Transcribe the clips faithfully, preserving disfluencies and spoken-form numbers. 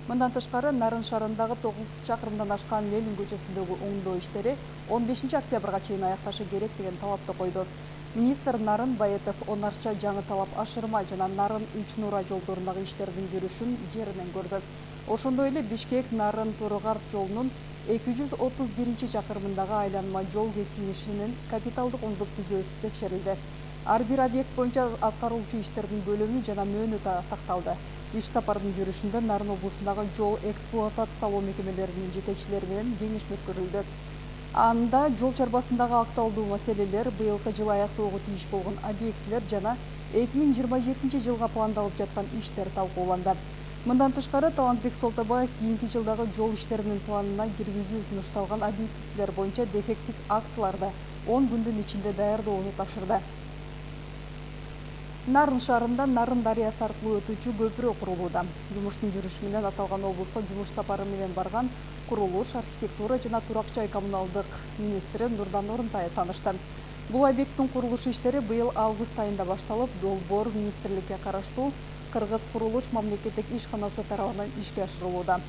Мындан тышкары Нарын шаарындагы тогуз чакырымдан ашкан Ленин көчөсүндөгү оңдоо иштери он бешинчи октябрга чейин аякташы керек деген талапты койду. Министр Нарын Баетов Онарча жаңы талап ашырма жана Нарын үч Нура жолдорундагы иштердин жүрүшүн жеринен көрдү. Ошондой эле Бишкек Нарын Торугар жолунун эки жүз отуз биринчи чакырымындагы айланма жол кесилишинин капиталдык оңдоп түзөөсү текшерилди. Ар бир объект боюнча аткаруучу иштердин көлөмү жана мөөнөтү такталды. Иш сапардын жүрүшүндө Нарын облусундагы жол эксплуатациялоо мекемелеринин жетекчилери менен кеңешме өткөрүлдү. Анда жол чарбасындагы актуалдуу маселелер, быйылкы жылы аяктоого тийиш болгон объектилер жана эки миң жыйырма жетинчи жылга пландалып жаткан иштер талкууланды. Мындан тышкары Талантбек Солтабаев кийинки жылдагы жол иштеринин планына киргизүү сунушталган объектилер боюнча дефекттик актыларды он күндүн ичинде даярдоону тапшырды. Нарын шаарында Нарын дарыясы аркылуу өтүүчү көпүрө курулууда. Жумуштун жүрүшү менен аталган облуска жумуш сапары менен барган курулуш, архитектура жана турак жай коммуналдык министри Нурдан Орунтаев таанышты. Бул объекттин курулуш иштери быйыл август айында башталып, Долбоор министрликке караштуу Кыргыз курулуш мамлекеттик ишканасы тарабынан ишке ашырылууда.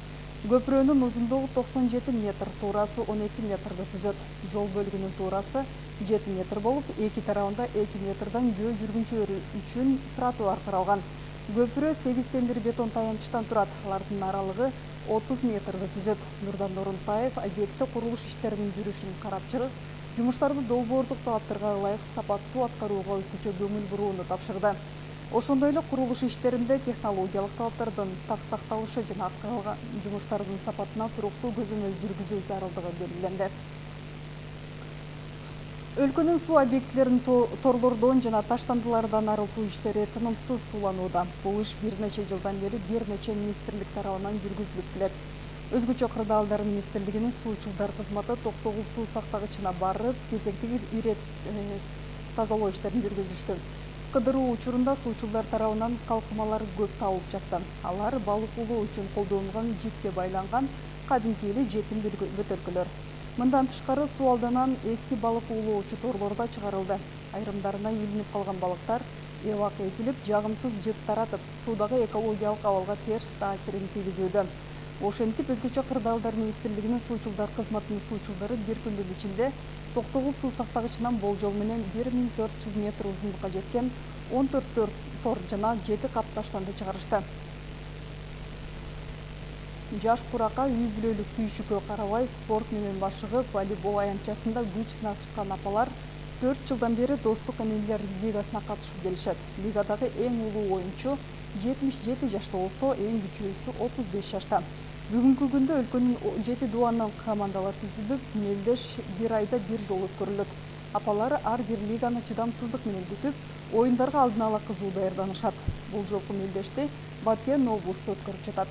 Көпүрөнүн узундугу токсон жети метр, туурасы он эки метрди түзөт. Жол бөлүгүнүн туурасы жети метр болуп, эки тарабында эки метрден жөө жүргүнчүлөр үчүн тротуар каралган. Көпүрө сегиз темир бетон таянычтан турат. Алардын аралыгы отуз метрди түзөт. Нурдан Орунтаев объектте курулуш иштеринин жүрүшүн карап чыгып, жумуштарды долбоордук талаптарга ылайык сапаттуу аткарууга өзгөчө көңүл бурууну тапшырды. Ошондой эле курулуш иштеринде технологиялык талаптардын так сакталышы жана аткарылган жумуштардын сапатына туруктуу көзөмөл жүргүзүү зарылдыгы белгиленди. Өлкөнүн суу объектилерин торлордон жана таштандылардан арылтуу иштери тынымсыз сууланууда. Бул иш бир нече жылдан бери бир нече министрлик тарабынан жүргүзүлүп келет. Өзгөчө Кырдаалдар министрлигинин суучулдар кызматы Токтогул суу сактагычына барып, кезектеги ирет тазалоо иштерин жүргүзүштү. Кыдыруу учурунда суучулдар тарабынан калкымалар көп табылып жатты. Алар балык улоо үчүн колдонулган жипке байланган кадимки эле жетим бөтөлкөлөр. Мындан тышкары суу алданан эски балык улоочу торлорда чыгарылды. Айрымдарына илинип калган балыктар эбак эзилип, жагымсыз жыт таратып, суудагы экологиялык абалга терс таасирин тийгизүүдө. Ошентип, өзгөчө Кырдаалдар министрлигинин суучулдар кызматынын суучулдары бир күндүн ичинде Токтогул суу сактагычынан болжол менен бир миң төрт жүз метр узундукка жеткен он төрт тор жана жети кап таштанды чыгарышты. Жаш куракка үй бүлөлүк түйшүккө карабай спорт менен башыгып, волейбол аянтчасында күч сынашкан апалар төрт жылдан бери Достук энелер лигасына катышып келишет. Лигадагы эң улуу оюнчу жетимиш жети жашта болсо, эң кичүүсү отуз беш жашта. Бүгүнкү күндө өлкөнүн жети дуанынан командалар түзүлүп, мелдеш бир айда бир жолу өткөрүлөт. Апалар ар бир лиганы чыдамсыздык менен күтүп, оюндарга алдын ала кызуу даярданышат. Бул жолку мелдешти Баткен облусу өткөрүп жатат.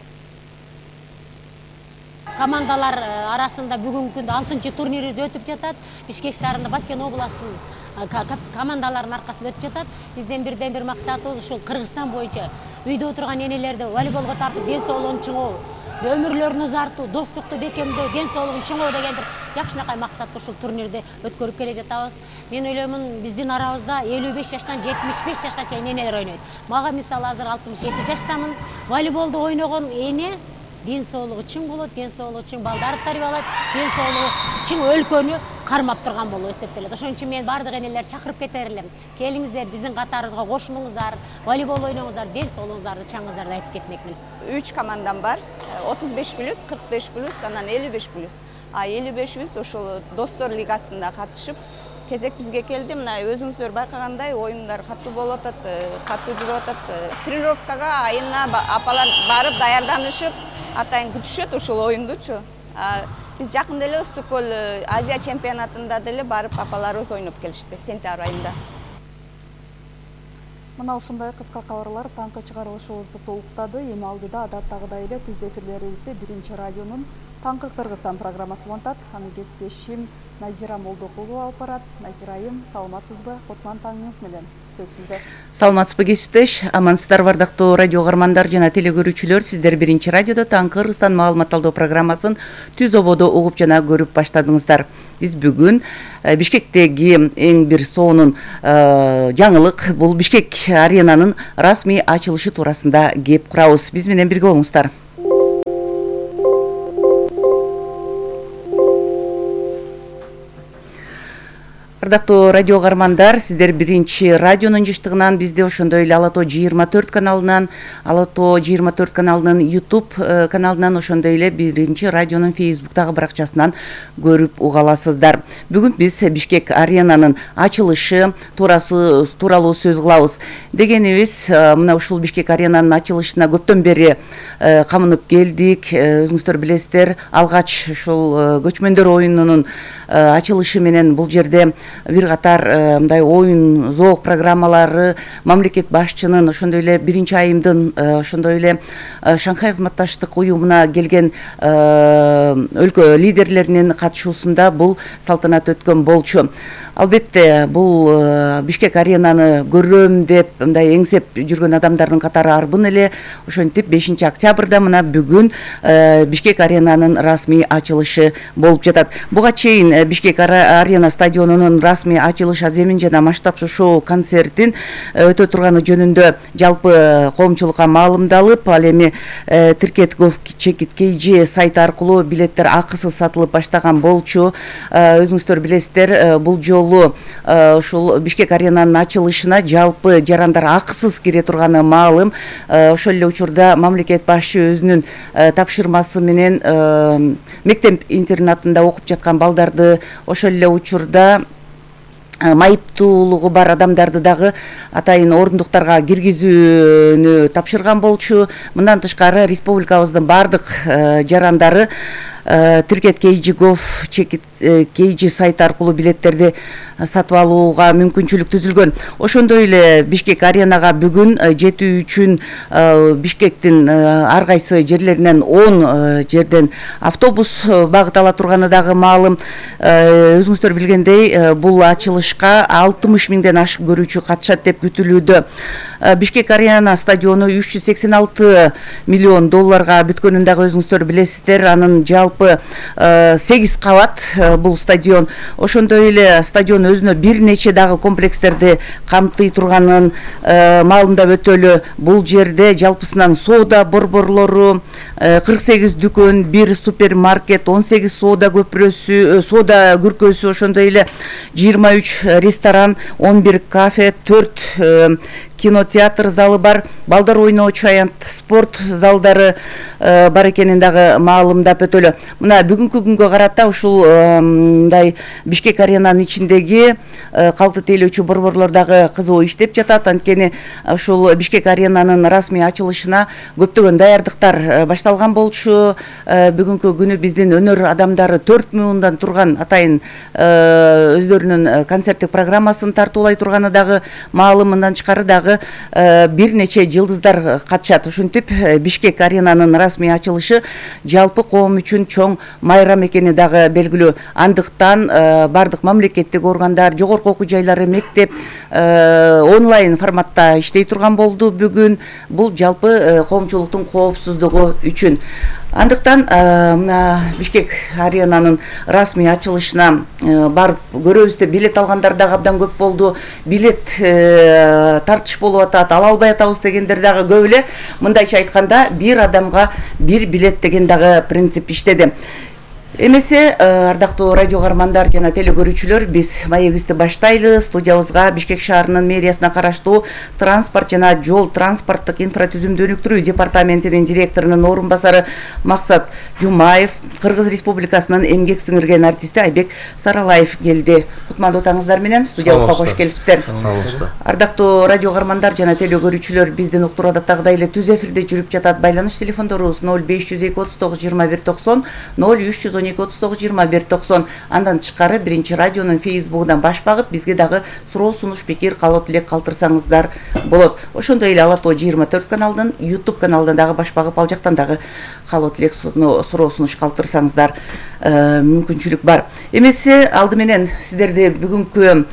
Командалар арасында бүгүнкү күндө алтынчы турнирибиз өтүп жатат. Бишкек шаарында Баткен областынын командаларынын аркасында өтүп жатат. Бизден бирден бир максатыбыз ушул Кыргызстан боюнча үйдө отурган энелерди волейболго тартып, ден соолугун чыңоо, өмүрлөрүн узартуу, достукту бекемдөө, ден соолугун чыңоо деген бир жакшынакай максатты ушул турнирди өткөрүп келе жатабыз. Мен ойлоймун, биздин арабызда элүү беш жаштан жетимиш беш жашка чейин энелер ойнойт. Мага мисалы азыр алтымыш эки жаштамын. Волейболду ойногон эне ден соолугу чың болот, ден соолугу чың балдарды тарбиялайт, ден соолугу чың өлкөнү кармап турган болуп эсептелет. Ошон үчүн мен бардык энелерди чакырып кетер элем. Келиңиздер, биздин катарыбызга кошулуңуздар, волейбол ойноңуздар, ден соолугуңуздарды чаңыңыздарды айтып кетмекмин. үч командам бар. отуз беш плюс, кырк беш плюс, анан элүү беш плюс. А элүү бешибиз ошол Достор лигасында катышып, кезек бизге келди. Мына өзүңүздөр байкагандай оюндар катуу болуп атат, катуу жүрүп атат. Тренировкага айына апалар барып даярданышып, атайын күтүшөт ушул оюндучу. Биз жакында эле Ысык-Көл Азия чемпионатында деле барып апаларыбыз ойноп келишти сентябрь айында. Мына ушундай кыска кабарлар таңкы чыгарылышыбызды толуктады. Эми алдыда адаттагыдай эле түз эфирлерибизди Биринчи радионун Таңкы Кыргызстан программасы улантат. Аны кесиптешим Назира Молдокулова алып барат. Назира айым, саламатсызбы? Кутман таңыңыз менен. Сөз сизде. Саламатсызбы кесиптеш? Амансыздар бардыктуу радио каармандар жана телекөрүүчүлөр. Сиздер Биринчи радиодо Таңкы Кыргызстан маалымат алуу программасын түз ободо угуп жана көрүп баштадыңыздар. Биз бүгүн Бишкектеги эң бир сонун жаңылык, бул Бишкек аренанын расмий ачылышы туурасында кеп курабыз. Биз менен бирге болуңуздар. Ардактуу радио каармандар, сиздер биринчи радионун жыштыгынан, бизди ошондой эле Ала Тоо жыйырма төрт каналынан, Ала Тоо жыйырма төрт каналынын YouTube каналынан, ошондой эле биринчи радионун Facebooктагы баракчасынан көрүп уга аласыздар. Бүгүн биз Бишкек аренанын ачылышы туурасы тууралуу сөз кылабыз. Дегенибиз, мына ушул Бишкек аренанын ачылышына көптөн бери камынып келдик. Өзүңүздөр билесиздер, алгач ушул көчмөндөр оюнунун ачылышы менен бул жерде бир катар мындай оюн зоок программалары, мамлекет башчынын, ошондой эле биринчи айымдын, ошондой эле Шанхай кызматташтык уюмуна келген өлкө лидерлеринин катышуусунда бул салтанат өткөн болчу. Албетте, бул Бишкек аренаны көрөм деп мындай эңсеп жүргөн адамдардын катары арбын эле. Ошентип бешинчи октябрда мына бүгүн Бишкек аренанын расмий ачылышы болуп жатат. Буга чейин Бишкек арена стадионунун расмий ачылыш аземин жана масштабсыз шоу концертин өтө турганы жөнүндө жалпы коомчулукка маалымдалып, ал эми Тиркет Гов Чекит кей жи сайты аркылуу билеттер акысыз сатылып баштаган болчу. Өзүңүздөр билесиздер, бул жолу ушул Бишкек аренанын ачылышына жалпы жарандар акысыз кире турганы маалым. Ошол эле учурда мамлекет башчы өзүнүн тапшырмасы менен мектеп интернатында окуп жаткан балдарды, ошол эле учурда майыптуулугу бар адамдарды дагы атайын орундуктарга киргизүүнү тапшырган болчу. Мындан тышкары республикабыздын бардык жарандары Тиркет кей жи Гов Чекит кей жи сайты аркылуу билеттерди сатып алууга мүмкүнчүлүк түзүлгөн. Ошондой эле Бишкек аренага бүгүн жетүү үчүн Бишкектин ар кайсы жерлеринен он жерден автобус багыт ала турганы дагы маалым. Өзүңүздөр билгендей, бул ачылышка алтымыш миңден ашык көрүүчү катышат деп күтүлүүдө. Бишкек арена стадиону үч жүз сексен алты миллион долларга бүткөнүн дагы өзүңүздөр билесиздер. Анын жалпы сегиз кабат бул стадион. Ошондой эле стадион өзүнө бир нече дагы комплекстерди камтый турганын маалымдап өтөлү. Бул жерде жалпысынан соода борборлору, кырк сегиз дүкөн, бир супермаркет, он сегиз соода көпүрөсү, соода күркөсү, ошондой эле жыйырма үч ресторан, он бир кафе, төрт кинотеатр залы бар, балдар ойноочу аянт спорт залдары бар экенин дагы маалымдап өтөлү. Мына бүгүнкү күнгө карата ушул мындай Бишкек аренанын ичиндеги калкты тейлөөчү борборлор дагы кызуу иштеп жатат. Анткени ушул Бишкек аренанын расмий ачылышына көптөгөн даярдыктар башталган болчу. Бүгүнкү күнү биздин өнөр адамдары төрт муундан турган атайын өздөрүнүн концерттик программасын тартуулай турганы дагы маалым. Мындан тышкары дагы бир нече жылдыздар катышат. Ушинтип Бишкек аренанын расмий ачылышы жалпы коом үчүн чоң майрам экени дагы белгилүү. Андыктан бардык мамлекеттик органдар, жогорку окуу жайлары, мектеп онлайн форматта иштей турган болду бүгүн. Бул жалпы коомчулуктун коопсуздугу үчүн. Андыктан мына Бишкек аренанын расмий ачылышына барып көрөбүз деп билет алгандар дагы абдан көп болду. Билет тартыш болуп атат, ала албай атабыз дегендер дагы көп эле. Мындайча айтканда бир адамга бир билет деген дагы принцип иштеди. Эмесе, ардактуу радио каармандар жана телекөрүүчүлөр, биз маегибизди баштайлы. Студиябызга Бишкек шаарынын мэриясына караштуу транспорт жана жол транспорттук инфратүзүмдү өнүктүрүү департаментинин директорунун орун басары Максат Жумаев, Кыргыз Республикасынын эмгек сиңирген артисти Айбек Саралаев келди. Кутмандуу таңыңыздар менен студиябызга кош келипсиздер. Ардактуу радио каармандар жана телекөрүүчүлөр, биздин уктуруу адаттагыдай эле түз эфирде жүрүп жатат. Байланыш телефондорубуз ноль беш жүз эки отуз тогуз жыйырма бир токсон, ноль үч жүз он эки отуз тогуз жыйырма бир токсон. Андан тышкары биринчи радионун Facebook'унан баш багып, бизге дагы суроо, сунуш, пикир, каалоо тилек калтырсаңыздар болот. Ошондой эле Ала Тоо жыйырма төрт каналынын YouTube каналынан дагы баш багып, ал жактан дагы каалоо тилек, суроо, сунуш калтырсаңыздар мүмкүнчүлүк бар. Эмесе, алды менен сиздерди бүгүнкү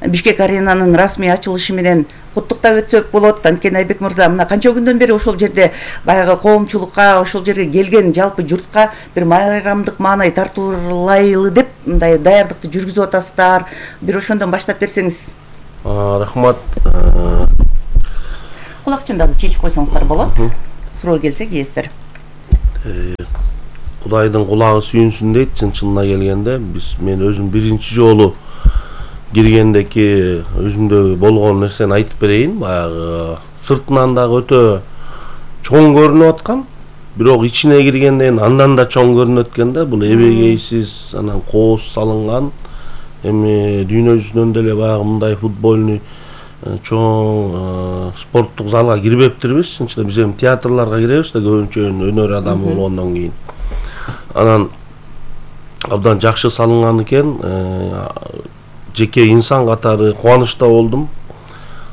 Бишкек аренанын расмий ачылышы менен куттуктап өтсөк болот. Анткени Айбек мырза, мына канча күндөн бери ошол жерде баягы коомчулукка, ошол жерге келген жалпы журтка бир майрамдык маанай тартуулайлы деп мындай даярдыкты жүргүзүп атасыздар. Бир ошондон баштап берсеңиз. Рахмат. Кулакчынды азыр чечип койсоңуздар болот. Суроо келсе кээстер. Кудайдын кулагы сүйүнсүн дейт. Чын-чынына келгенде биз мен өзүм биринчи жолу киргендеки өзүмдө болгон нерсени айтып берейин. Баягы сыртынан дагы өтө чоң көрүнүп аткан, бирок ичине киргенден андан да чоң көрүнөт экен да. Бул эбегейсиз, анан кооз салынган, эми дүйнө жүзүнөн деле баягы мындай футбольный чоң спорттук залга кирбептирбиз. Чынчыда биз эми театрларга киребиз да, көбүнчө өнөр адамы болгондон кийин. Анан абдан жакшы салынган экен. Жеке инсан катары кубанычта болдум.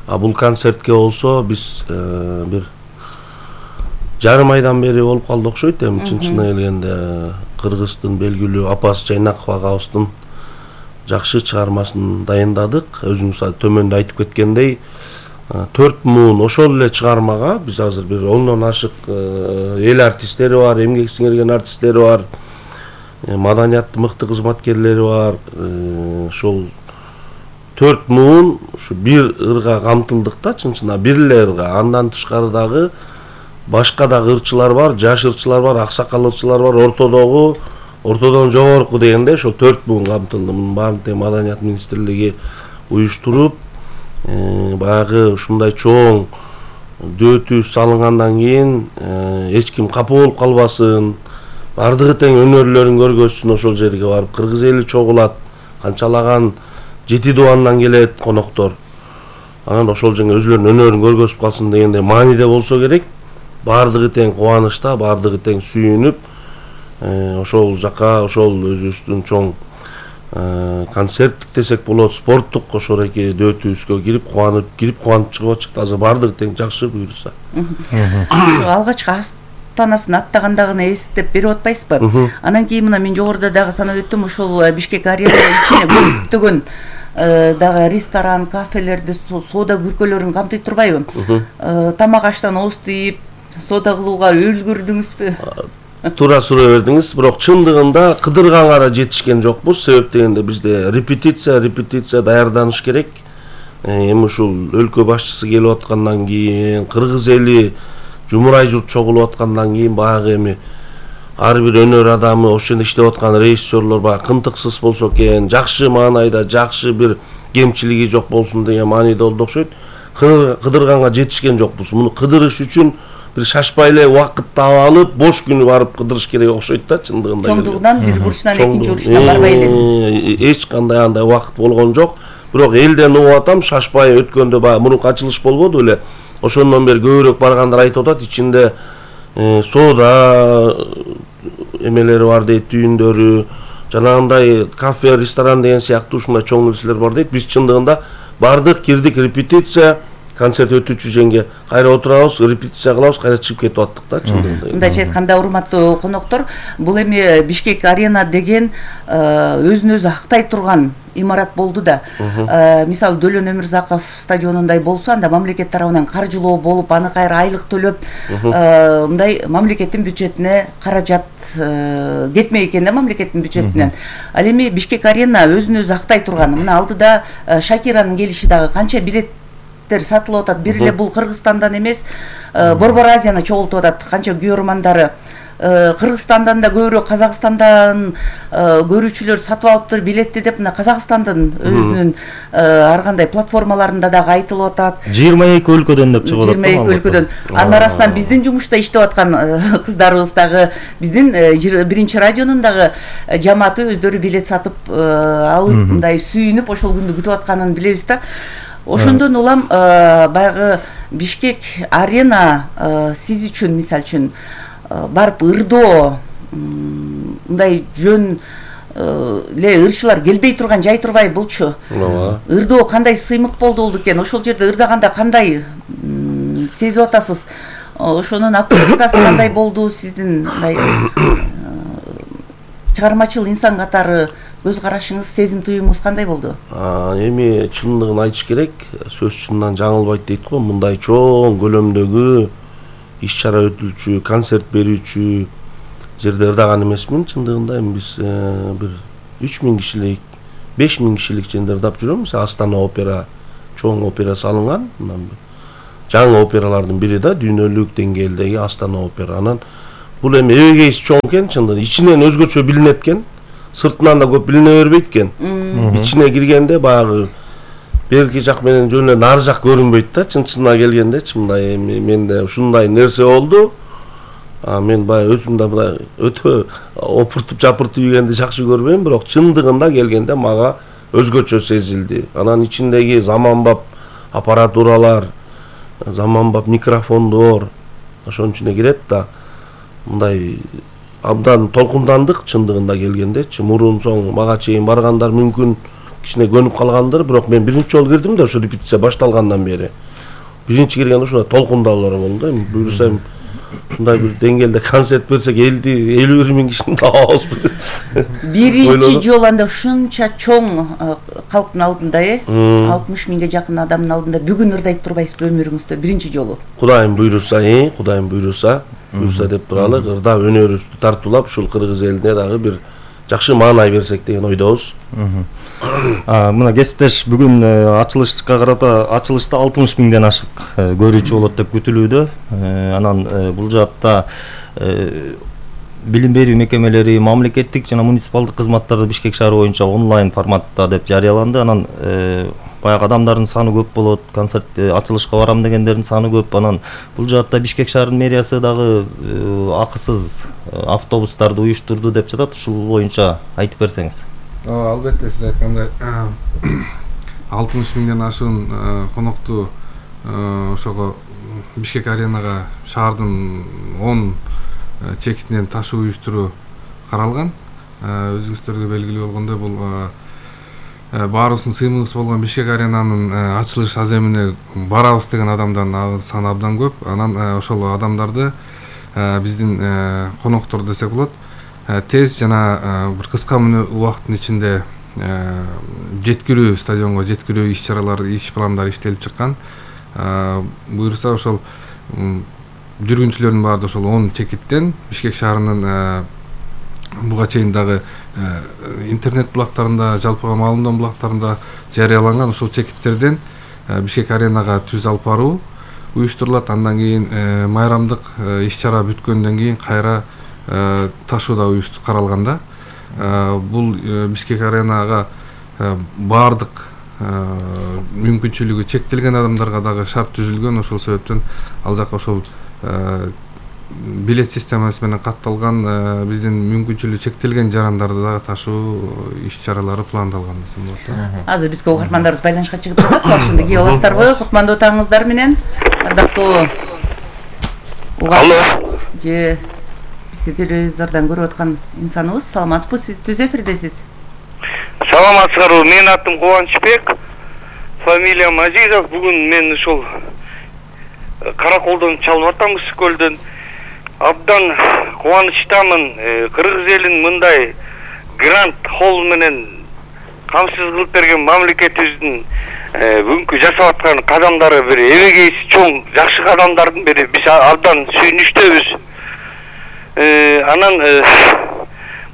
А бул концертке болсо биз бир жарым айдан бери болуп калды окшойт. Эми чын-чынына келгенде Кыргыздын белгилүү Апас Жайнаков агабыздын жакшы чыгармасын дайындадык. Өзүңүз төмөндө айтып кеткендей, төрт муун ошол эле чыгармага биз азыр бир ондон ашык эл артисттери бар, эмгек сиңирген артисттери бар, маданияттын мыкты кызматкерлери бар. Ошол төрт муун ушу бир ырга камтылдык да, чын-чынына бир эле ырга. Андан тышкары дагы башка да ырчылар бар, жаш ырчылар бар, аксакал ырчылар бар, ортодогу, ортодон жогорку дегенде ошол төрт муун камтылды. Мунун баарын тең Маданият министрлиги уюштуруп, баягы ушундай чоң дөтү салынгандан кийин эч ким капа болуп калбасын, бардыгы тең өнөрлөрүн көргөзсүн, ошол жерге барып кыргыз эли чогулат, канчалаган жети дубандан келет коноктор. Анан ошол жерге өзүлөрүнүн өнөрүн көргөзүп калсын дегенде мааниде болсо керек. Бардыгы тең кубанычта, бардыгы тең сүйүнүп, ошол жака, ошол өзүбүздүн чоң концерттик десек болот, спорттук ошол эки дөтүбүзгө кирип, кубанып, кирип кубанып чыгып атышты. Азыр бардыгы тең жакшы буюрса. Алгачкы астанасын аттагандагыны эстеп берип атпайсызбы? Анан кийин мына мен жогоруда дагы санап өттүм, ошол Бишкек арена ичине көптөгөн дагы ресторан, кафелерди, соода бүркөлөрүн камтый турбайбы? Тамак аштан ооз тийип, соода кылууга үлгүрдүңүзбү? Туура суроо бердиңиз, бирок чындыгында кыдырганга да жетишкен жокпуз. Себеп дегенде бизде репетиция, репетиция даярданыш керек. Эми ушул өлкө башчысы келип аткандан кийин, кыргыз эли жумурай журт чогулуп аткандан кийин баягы эми ар бир өнөр адамы, ошол жерде иштеп аткан режиссерлор баягы кынтыксыз болсо экен, жакшы маанайда, жакшы бир кемчилиги жок болсун деген мааниде болду окшойт. Кыдырганга жетишкен жокпуз. Муну кыдырыш үчүн бир шашпай эле убакыт таап алып, бош күнү барып кыдырыш керек окшойт да, чындыгында. Чоңдугунан бир бурчунан экинчи бурчуна барбай элесиз. Эч кандай андай убакыт болгон жок. Бирок элден угуп атам, шашпай өткөндө баягы мурунку ачылыш болбоду беле. Ошондон бери көбүрөөк баргандар айтып атат, ичинде соода эмелери бар дейт, түйүндөрү, жанагындай кафе, ресторан деген сыяктуу ушундай чоң нерселер бар дейт. Биз чындыгында бардык, кирдик, репетиция, концерт өтүүчү жерге кайра отурабыз, репетиция кылабыз, кайра чыгып кетип аттык да, чындыгында. Мындайча айтканда, урматтуу коноктор, бул эми Бишкек арена деген өзүн өзү актай турган имарат болду да. Мисалы Дөлөн Өмүрзаков стадионундай болсо, анда мамлекет тарабынан каржылоо болуп, аны кайра айлык төлөп, мындай мамлекеттин бюджетине каражат кетмей экен да, мамлекеттин бюджетинен. Ал эми Бишкек арена өзүн өзү актай турган. Мына алдыда Шакиранын келиши дагы канча билет сатылып атат. Бир эле бул Кыргызстандан эмес, Борбор Азияны чогултуп атат. Канча күйөрмандары Кыргызстандан да көбүрөөк, Казакстандан көрүүчүлөр сатып алыптыр билетти деп, мына Казакстандын өзүнүн ар кандай платформаларында дагы айтылып атат. жыйырма эки өлкөдөн деп чыгып атат. жыйырма эки өлкөдөн. Анын арасынан биздин жумушта иштеп аткан кыздарыбыз дагы, биздин биринчи радионун дагы жамааты өздөрү билет сатып алып, мындай сүйүнүп ошол күндү күтүп атканын билебиз да. Ошондон улам баягы Бишкек арена сиз үчүн, мисалы үчүн, барып ырдоо, мындай жөн эле ырчылар келбей турган жай турбай булчу. Ырдоо кандай сыймык болду экен? Ошол жерде ырдаганда кандай сезип атасыз? Ошонун акустикасы кандай болду сиздин мындай чыгармачыл инсан катары көз карашыңыз, сезим туюмуңуз кандай болду? Эми чындыгын айтыш керек, сөз чындан жаңылбайт дейт го. Мындай чоң көлөмдөгү иш-чара өтүлчү, концерт берүүчү жерде ырдаган эмесмин. Чындыгында эми биз бир үч миң кишилик, беш миң кишилик жерде ырдап жүрөм. Астана опера, чоң опера салынган. Жаңы опералардын бири да, дүйнөлүк деңгээлдеги Астана опера. Анан бул эми эбегейси чоң экен, чындыгында ичинен өзгөчө билинет экен. Сыртынан да көп билине бербейт экен. ичине киргенде баягы берки жак менен жөн эле нары жак көрүнбөйт да, чын чынына келгендечи мындай менде ушундай нерсе болду. А мен баягы өзүм да мындай өтө опуртуп жапыртып ийгенди жакшы көрбөйм, бирок чындыгында келгенде мага өзгөчө сезилди. Анан ичиндеги заманбап аппаратуралар, заманбап микрофондор ошонун ичине кирет да, мындай абдан толкундандык чындыгында келгендечи. Мурун соң мага чейин баргандар мүмкүн кичине көнүп калгандыр, бирок мен биринчи жолу кирдим да ошо репетиция башталгандан бери. Биринчи киргенде ушундай толкундалар болду да. Буюрса ушундай бир деңгээлде концерт берсек элүү бир миң кишини табабызбы. Биринчи жолу анда ушунча чоң калктын алдында, э, алтымыш миңге жакын адамдын алдында бүгүн ырдайт турбайсызбы өмүрүңүздө биринчи жолу? Кудайым буйруса, э, Кудайым буйруса, буйруса деп туралы, ырдап өнөрүбүздү тартуулап ушул кыргыз элине дагы бир жакшы маанай берсек деген ойдобуз. Мына кесиптеш бүгүн ачылышка карата ачылышта алтымыш миңден ашык көрүүчү болот деп күтүлүүдө. Анан бул жаатта билим берүү мекемелери, мамлекеттик жана муниципалдык кызматтарды Бишкек шаары боюнча онлайн форматта деп жарыяланды. Анан баягы адамдардын саны көп болот, концерт ачылышка барам дегендердин саны көп. Анан бул жаатта Бишкек шаарынын мэриясы дагы акысыз автобустарды уюштурду деп жатат. Ушул боюнча айтып берсеңиз. Албетте, сиз айткандай алтымыш миңден ашуун конокту ошого Бишкек аренага шаардын он чекитинен ташуу уюштуруу каралган. Өзүңүздөргө белгилүү болгондой бул баарыбыздын сыймыгыбыз болгон Бишкек аренанын ачылыш аземине барабыз деген адамдардын саны абдан көп. Анан ошол адамдарды биздин коноктор десек болот, тез жана бир кыска убакыттын ичинде жеткирүү, стадионго жеткирүү иш-чаралары, иш пландары иштелип чыккан. Буюрса ошол жүргүнчүлөрдүн баары ошол он чекиттен Бишкек шаарынын буга чейин дагы интернет булактарында, жалпыга маалымдоо булактарында жарыяланган ошол чекиттерден Бишкек аренага түз алып баруу уюштурулат. Андан кийин майрамдык иш-чара бүткөндөн кийин кайра ташууда уюштур каралганда, бул Бишкек аренага баардык мүмкүнчүлүгү чектелген адамдарга дагы шарт түзүлгөн. Ошол себептен ал жака ошол билет системасы менен катталган, биздин мүмкүнчүлүгү чектелген жарандарды дагы ташуу иш-чаралары пландалган десем болот. Азыр бизге угармандарыбыз байланышка чыгып жатат. Ошондо кие аласыздарбы? Кутмандуу таңыңыздар менен. Ардактуу угарман же бизди телевизордон көрүп аткан инсаныбыз, саламатсызбы? Сиз түз эфирдесиз. Саламатсыздарбы? Менин атым Кубанычбек, фамилиям Азизов. Бүгүн мен ушул Караколдон чалып атам, Ысык көлдөн. Абдан кубанычтамын. Кыргыз элин мындай грант холл менен камсыз кылып берген мамлекетибиздин бүгүнкү жасап аткан кадамдары бир эбегейси чоң, жакшы кадамдардын бири. Биз абдан сүйүнүчтөбүз. Анан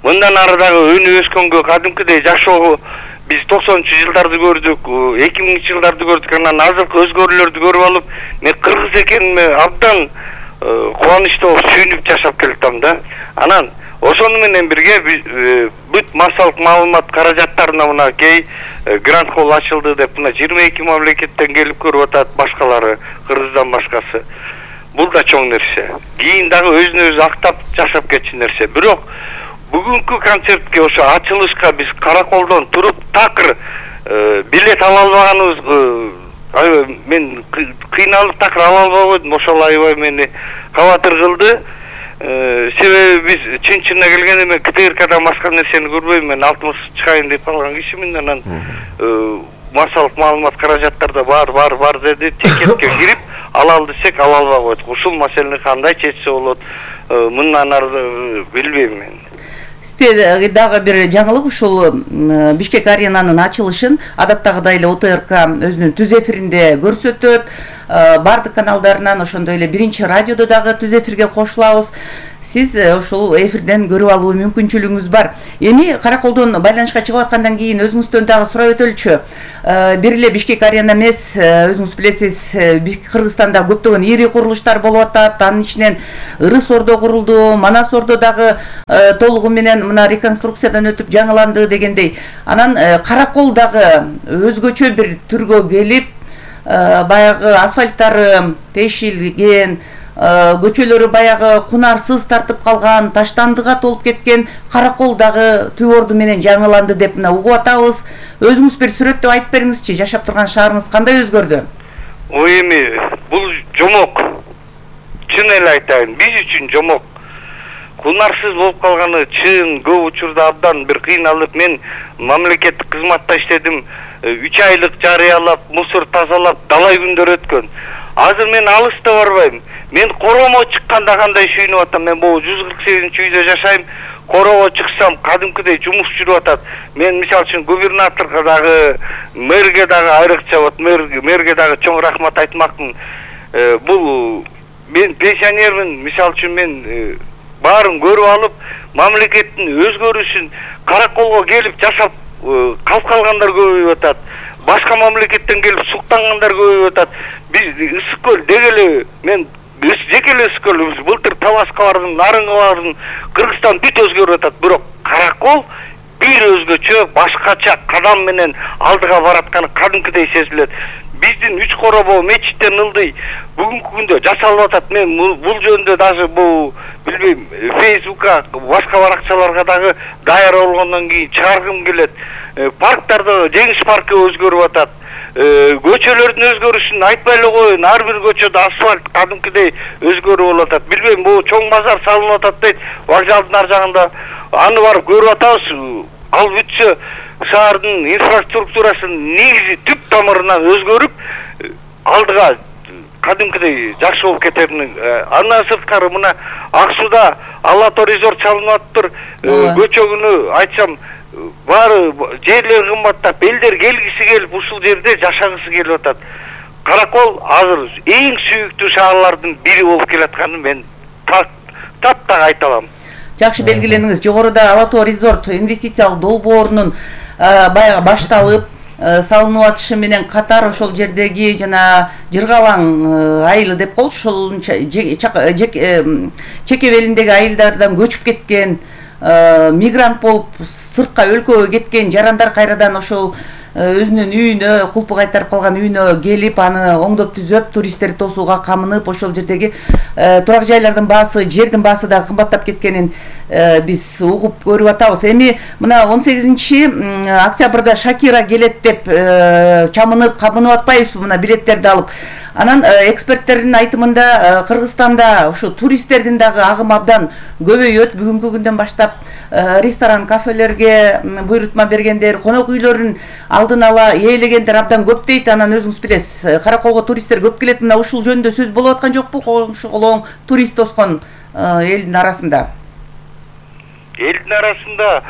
мындан ары дагы өнүп өскөнгө кадимкидей жашоо, биз токсонунчу жылдарды көрдүк, эки миңинчи жылдарды көрдүк. Анан азыркы өзгөрүүлөрдү көрүп алып, мен кыргыз экениме абдан кубанычтуу болуп сүйүнүп жашап келатам да. Анан ошону менен бирге бүт массалык маалымат каражаттарына мына кей грант холл ачылды деп мына жыйырма эки мамлекеттен келип көрүп атат, башкалары Кыргыздан башкасы. Бул да чоң нерсе. Кийин дагы өзүнө өзү актап жашап кетчү нерсе. Бирок бүгүнкү концертке, ошо ачылышка биз Караколдон туруп такыр билет ала албаганыбыз, мен кыйналып такыр ала албай койдум. Ошол аябай мени кабатыр кылды. Себеби биз чын-чынына келгенде мен КТРКдан башка нерсени көрбөйм. Мен алтымыш чыкайын деп калган кишимин. Анан массалык маалымат каражаттарда бар, бар, бар деди. Тикетке кирип алалы десек ала албай койдук. Ушул маселени кандай чечсе болот? Мындан ары билбейм мен. Сизде дагы бир жаңылык, ушул Бишкек аренанын ачылышын адаттагыдай эле ОТРК өзүнүн түз эфиринде көрсөтөт. Бардык каналдарынан, ошондой эле биринчи радиодо дагы түз эфирге кошулабыз. сиз ушул эфирден көрүп алуу мүмкүнчүлүгүңүз бар. Эми Караколдон байланышка чыгып аткандан кийин өзүңүздөн дагы сурап өтөлүчү. Бир эле Бишкек арена эмес, өзүңүз билесиз, Кыргызстанда көптөгөн ири курулуштар болуп атат. Анын ичинен Ырыс Ордо курулду, Манас Ордо дагы толугу менен мына реконструкциядан өтүп жаңыланды дегендей. Анан Каракол дагы өзгөчө бир түргө келип, баягы асфальттары тешилген, көчөлөрү баягы кунарсыз тартып калган, таштандыга толуп кеткен Каракол дагы түп орду менен жаңыланды деп мына угуп атабыз. Өзүңүз бир сүрөттөп айтып бериңизчи, жашап турган шаарыңыз кандай өзгөрдү? Ой эми бул жомок. Чын эле айтайын, биз үчүн жомок. Кунарсыз болуп калганы чын, көп учурда абдан бир кыйналып, мен мамлекеттик кызматта иштедим, үч айлык жарыялап, мусор тазалап, далай күндөр өткөн. Азыр мен алыста барбайм. Мен Короомо чыкканда кандай сүйүнүп атам. Мен бул жүз кырк сегизинчи үйдө жашайм. Короого чыксам кадимкидей жумуш жүрүп атат. Мен мисалы үчүн губернаторго дагы, мэрге дагы айрыкча вот мэрге дагы чоң рахмат айтмакмын. Бул мен пенсионермин, мисалы үчүн мен баарын көрүп алып, мамлекеттин өзгөрүшүн Караколго келип жашап калып калгандар көбөйүп атат. Башка мамлекеттен келип суктангандар көбөйүп атат. Биз Ысык көл дегеле мен жеке эле Ысык көл былтыр Таласка бардым, Нарынга бардым, Кыргызстан бүт өзгөрүп атат. Бирок Каракол бир өзгөчө, башкача кадам менен алдыга баратканы кадимкидей сезилет. Биздин үч коробо мечиттен ылдый бүгүнкү күндө жасалып атат. Мен бул жөнүндө даже бул билбейм, Фейсбукка, башка баракчаларга дагы даяр болгондон кийин чыгаргым келет. Парктарда Жеңиш паркы өзгөрүп атат. Көчөлөрдүн өзгөрүшүн айтпай эле коеюн, ар бир көчөдө асфальт кадимкидей өзгөрүп болуп атат. Билбейм, бул чоң базар салынып атат дейт, вокзалдын ар жагында. Аны барып көрүп атабыз. Ал бүтсө шаардын инфраструктурасын негизи түп тамырынан өзгөрүп, алдыга кадимкидей жакшы болуп кететин. Андан сырткары мына Ак Сууда Алато резорт салынып атыптыр. Көчө күнү айтсам баары жерлер кымбаттап, элдер келгиси келип ушул жерде жашагысы келип атат. Каракол азыр эң сүйүктүү шаарлардын бири болуп келатканын мен таптак айта алам. Жакшы белгилениңиз. Жогоруда Алато резорт инвестициялык долбоорунун баягы башталып салынып атышы менен катар ошол жердеги жана Жыргалаң айылы деп коелучу, ошол чекебелиндеги айылдардан көчүп кеткен, мигрант болуп сыртка өлкөгө кеткен жарандар кайрадан ошол өзүнүн үйүнө, кулпу кайтарып калган үйүнө келип, аны оңдоп түзөп, туристтерди тосууга камынып, ошол жердеги турак жайлардын баасы, жердин баасы дагы кымбаттап кеткенин биз угуп көрүп атабыз. Эми мына он сегизинчи октябрда Шакира келет деп чамынып, кабынып атпайбызбы мына билеттерди алып. Анан эксперттердин айтымында Кыргызстанда ушу туристтердин дагы агымы абдан көбөйөт. Бүгүнкү күндөн баштап ресторан, кафелерге буйрутма бергендер, конок үйлөрүн алдын ала ээлегендер абдан көп дейт. Анан өзүңүз билесиз, Караколго туристтер көп келет. Мына ушул жөнүндө сөз болуп аткан жокпу? Коңшу колоң турист тоскон элдин арасында. Элдин арасында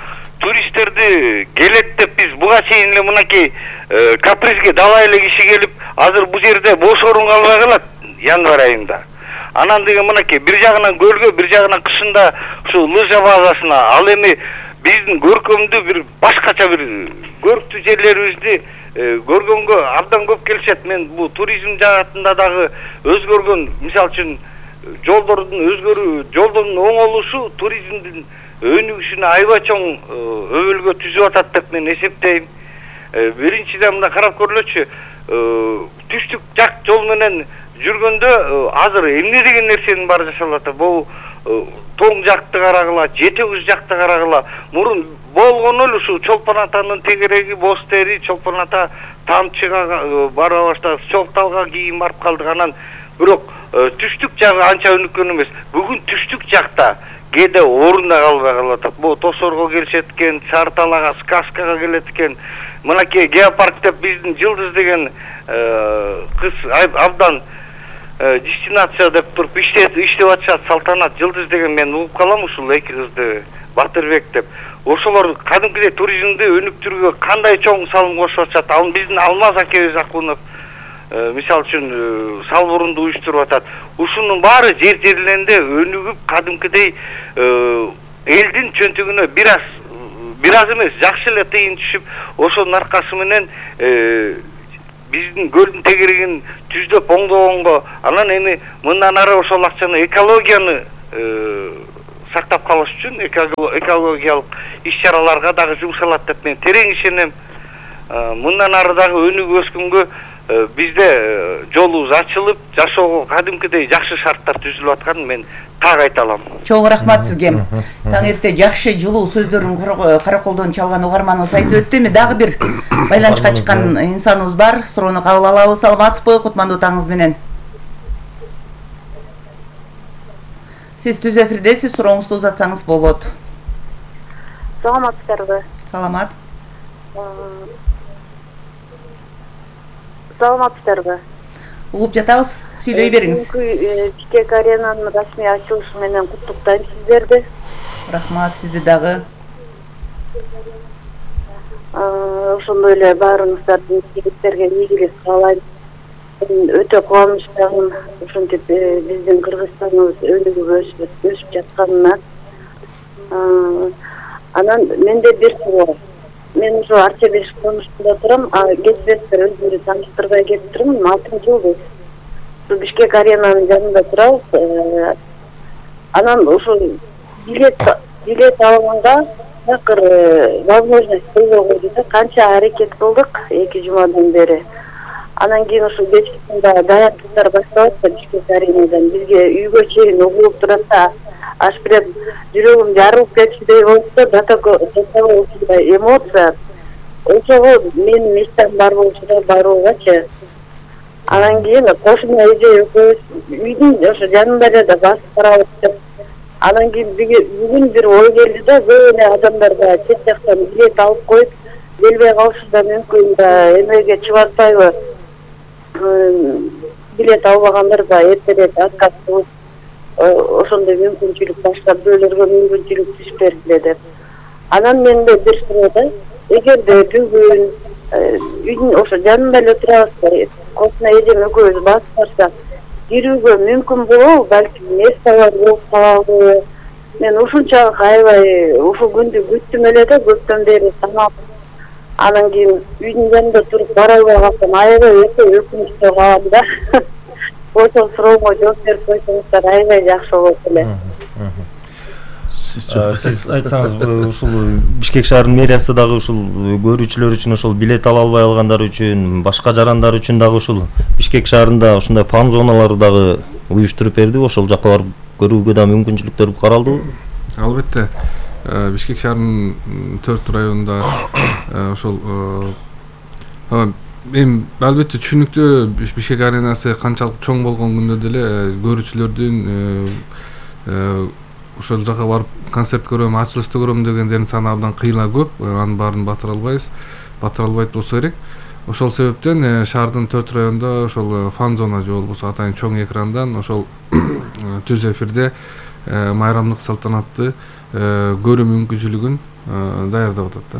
туристтерди келет деп биз буга чейин эле мынакей капризге далай эле киши келип, азыр бул жерде бош орун калбай калат январь айында. Анан деген мынакей бир жагынан көлгө, бир жагынан кышында ушу лыжа базасына, ал эми биздин көркөмдүү бир башкача бир көрктүү жерлерибизди көргөнгө абдан көп келишет. Мен бул туризм жаатында дагы өзгөргөн, мисалы үчүн жолдордун өзгөрүү, жолдордун оңолушу туризмдин өнүгүшүнө аябай чоң өбөлгө түзүп атат деп мен эсептейм. Биринчиден мына карап көрүлөчү, түштүк жак жол менен жүргөндө азыр эмне деген нерсенин баары жасалып атат. Бул тоң жакты карагыла, жети көз жакты карагыла. Мурун болгону эле ушу Чолпон атанын тегереги, боз тери, Чолпон ата тамчыга бара баштады, Чокталга кийин барып калдык. Анан бирок түштүк жагы анча өнүккөн эмес. Бүгүн түштүк жакта кээде орунда калбай калып атат. Бул Тосорго келишет экен, Чарталага, Сказкага келет экен. Мынакей геопарк деп биздин Жылдыз деген кыз абдан дестинация деп туруп иштеп иштеп атышат. Салтанат Жылдыз деген, мен угуп калам ушул эки кызды, Батырбек деп. Ошолор кадимкидей туризмди өнүктүрүүгө кандай чоң салым кошуп атышат. Ал биздин Алмаз акебиз Акунов мисалы үчүн салбурунду уюштуруп атат. Ушунун баары жер жерлеринде өнүгүп, кадимкидей элдин чөнтүгүнө бир аз бир аз эмес, жакшы эле тыйын түшүп, ошонун аркасы менен биздин көлдүн тегерегин түздөп оңдогонго, анан эми мындан ары ошол акчаны экологияны сактап калыш үчүн экологиялык иш-чараларга дагы жумшалат деп мен терең ишенем. Мындан ары дагы өнүгүп өскөнгө бизде жолубуз ачылып, жашоого кадимкидей жакшы шарттар түзүлүп атканын мен так айта алам. Чоң рахмат сизге. Таң эрте жакшы жылуу сөздөрүн караколдон чалган угарманыбыз айтып өттү. Эми дагы бир байланышка чыккан инсаныбыз бар. Суроону кабыл алабыз. Саламатсызбы? Кутмандуу таңыңыз менен. Сиз түз эфирдесиз, сурооңузду узатсаңыз болот. Саламатсыздарбы? Саламат. Саламатсыздарбы? Угуп жатабыз. Сүйлөй бериңиз. Бишкек аренанын расмий ачылышы менен куттуктайм сиздерди. Рахмат, сизди дагы. Ошондой эле баарыңыздардын жигиттерге ийгилик каалайм. Өтө кубанычтамын ушинтип биздин Кыргызстаныбыз өнүгүп өсүп жатканына. Анан менде бир суроо. Мен ушу Арчебеш конушунда турам, а кетпестер өздөрү тааныштырбай кетип турмун. алтынчы жыл биз Бишкек аренанын жанында турабыз. Анан ушу билет билет алганга такыр возможность болбой койду. Канча аракет кылдык эки жумадан бери. Анан кийин ушу кечкисинде даярдыктар башталат да Бишкек аренадан бизге үйгө чейин угулуп турат да, аш биреп жүрөгүм жарылып кетчүдөй болуп да, такой ушундай эмоция. Ошого менин мечтам бар болчу да, баруугачы. Анан кийин кошуна эже экөөбүз үйдүн ошо жанында эле да басып барабыз деп. Анан кийин бүгүн бир ой келди да, көп эле адамдарга чет жактан билет алып коюп, келбей калышы да мүмкүн да, эмеге чыбатпайбы? Билет албагандар да эртерээк отказ кылып, ошондой мүмкүнчүлүк башка бирөөлөргө мүмкүнчүлүк түшпөсү деп. Анан менде бир суроо да, эгерде бүгүн үйдүн ошо жанында эле турабыз, кошуна эжем экөөбүз басып барсак, кирүүгө мүмкүн болобу, балки место бар болуп калабы? Мен ушунчалык аябай ушул күндү күттүм эле да, көптөн бери санап. Анан кийин үйдүн жанында туруп бара албай калсам, аябай өтө өкүнүчтүү калам да. Ошол суроомо жооп берип койсоңуздар аябай жакшы болот эле. Сиз айтсаңыз, ушул Бишкек шаарынын мэриясы дагы ушул көрүүчүлөр үчүн, ошол билет ала албай алгандар үчүн, башка жарандар үчүн дагы ушул Бишкек шаарында ушундай фан зоналары дагы уюштуруп бердиби? Ошол жакка барып көрүүгө да мүмкүнчүлүктөр каралдыбы? Албетте. Бишкек шаарынын төрт районунда ошол эми албетте түшүнүктүү Бишкек аренасы канчалык чоң болгон күндө деле көрүүчүлөрдүн ошол жака барып концерт көрөм, ачылышты көрөм дегендердин саны абдан кыйла көп. Анын баарын батыра албайбыз. Батыра албайт болсо керек. Ошол себептен шаардын төрт районунда ошол фан зона же болбосо атайын чоң экрандан ошол түз эфирде майрамдык салтанатты көрүү мүмкүнчүлүгүн даярдап атат да.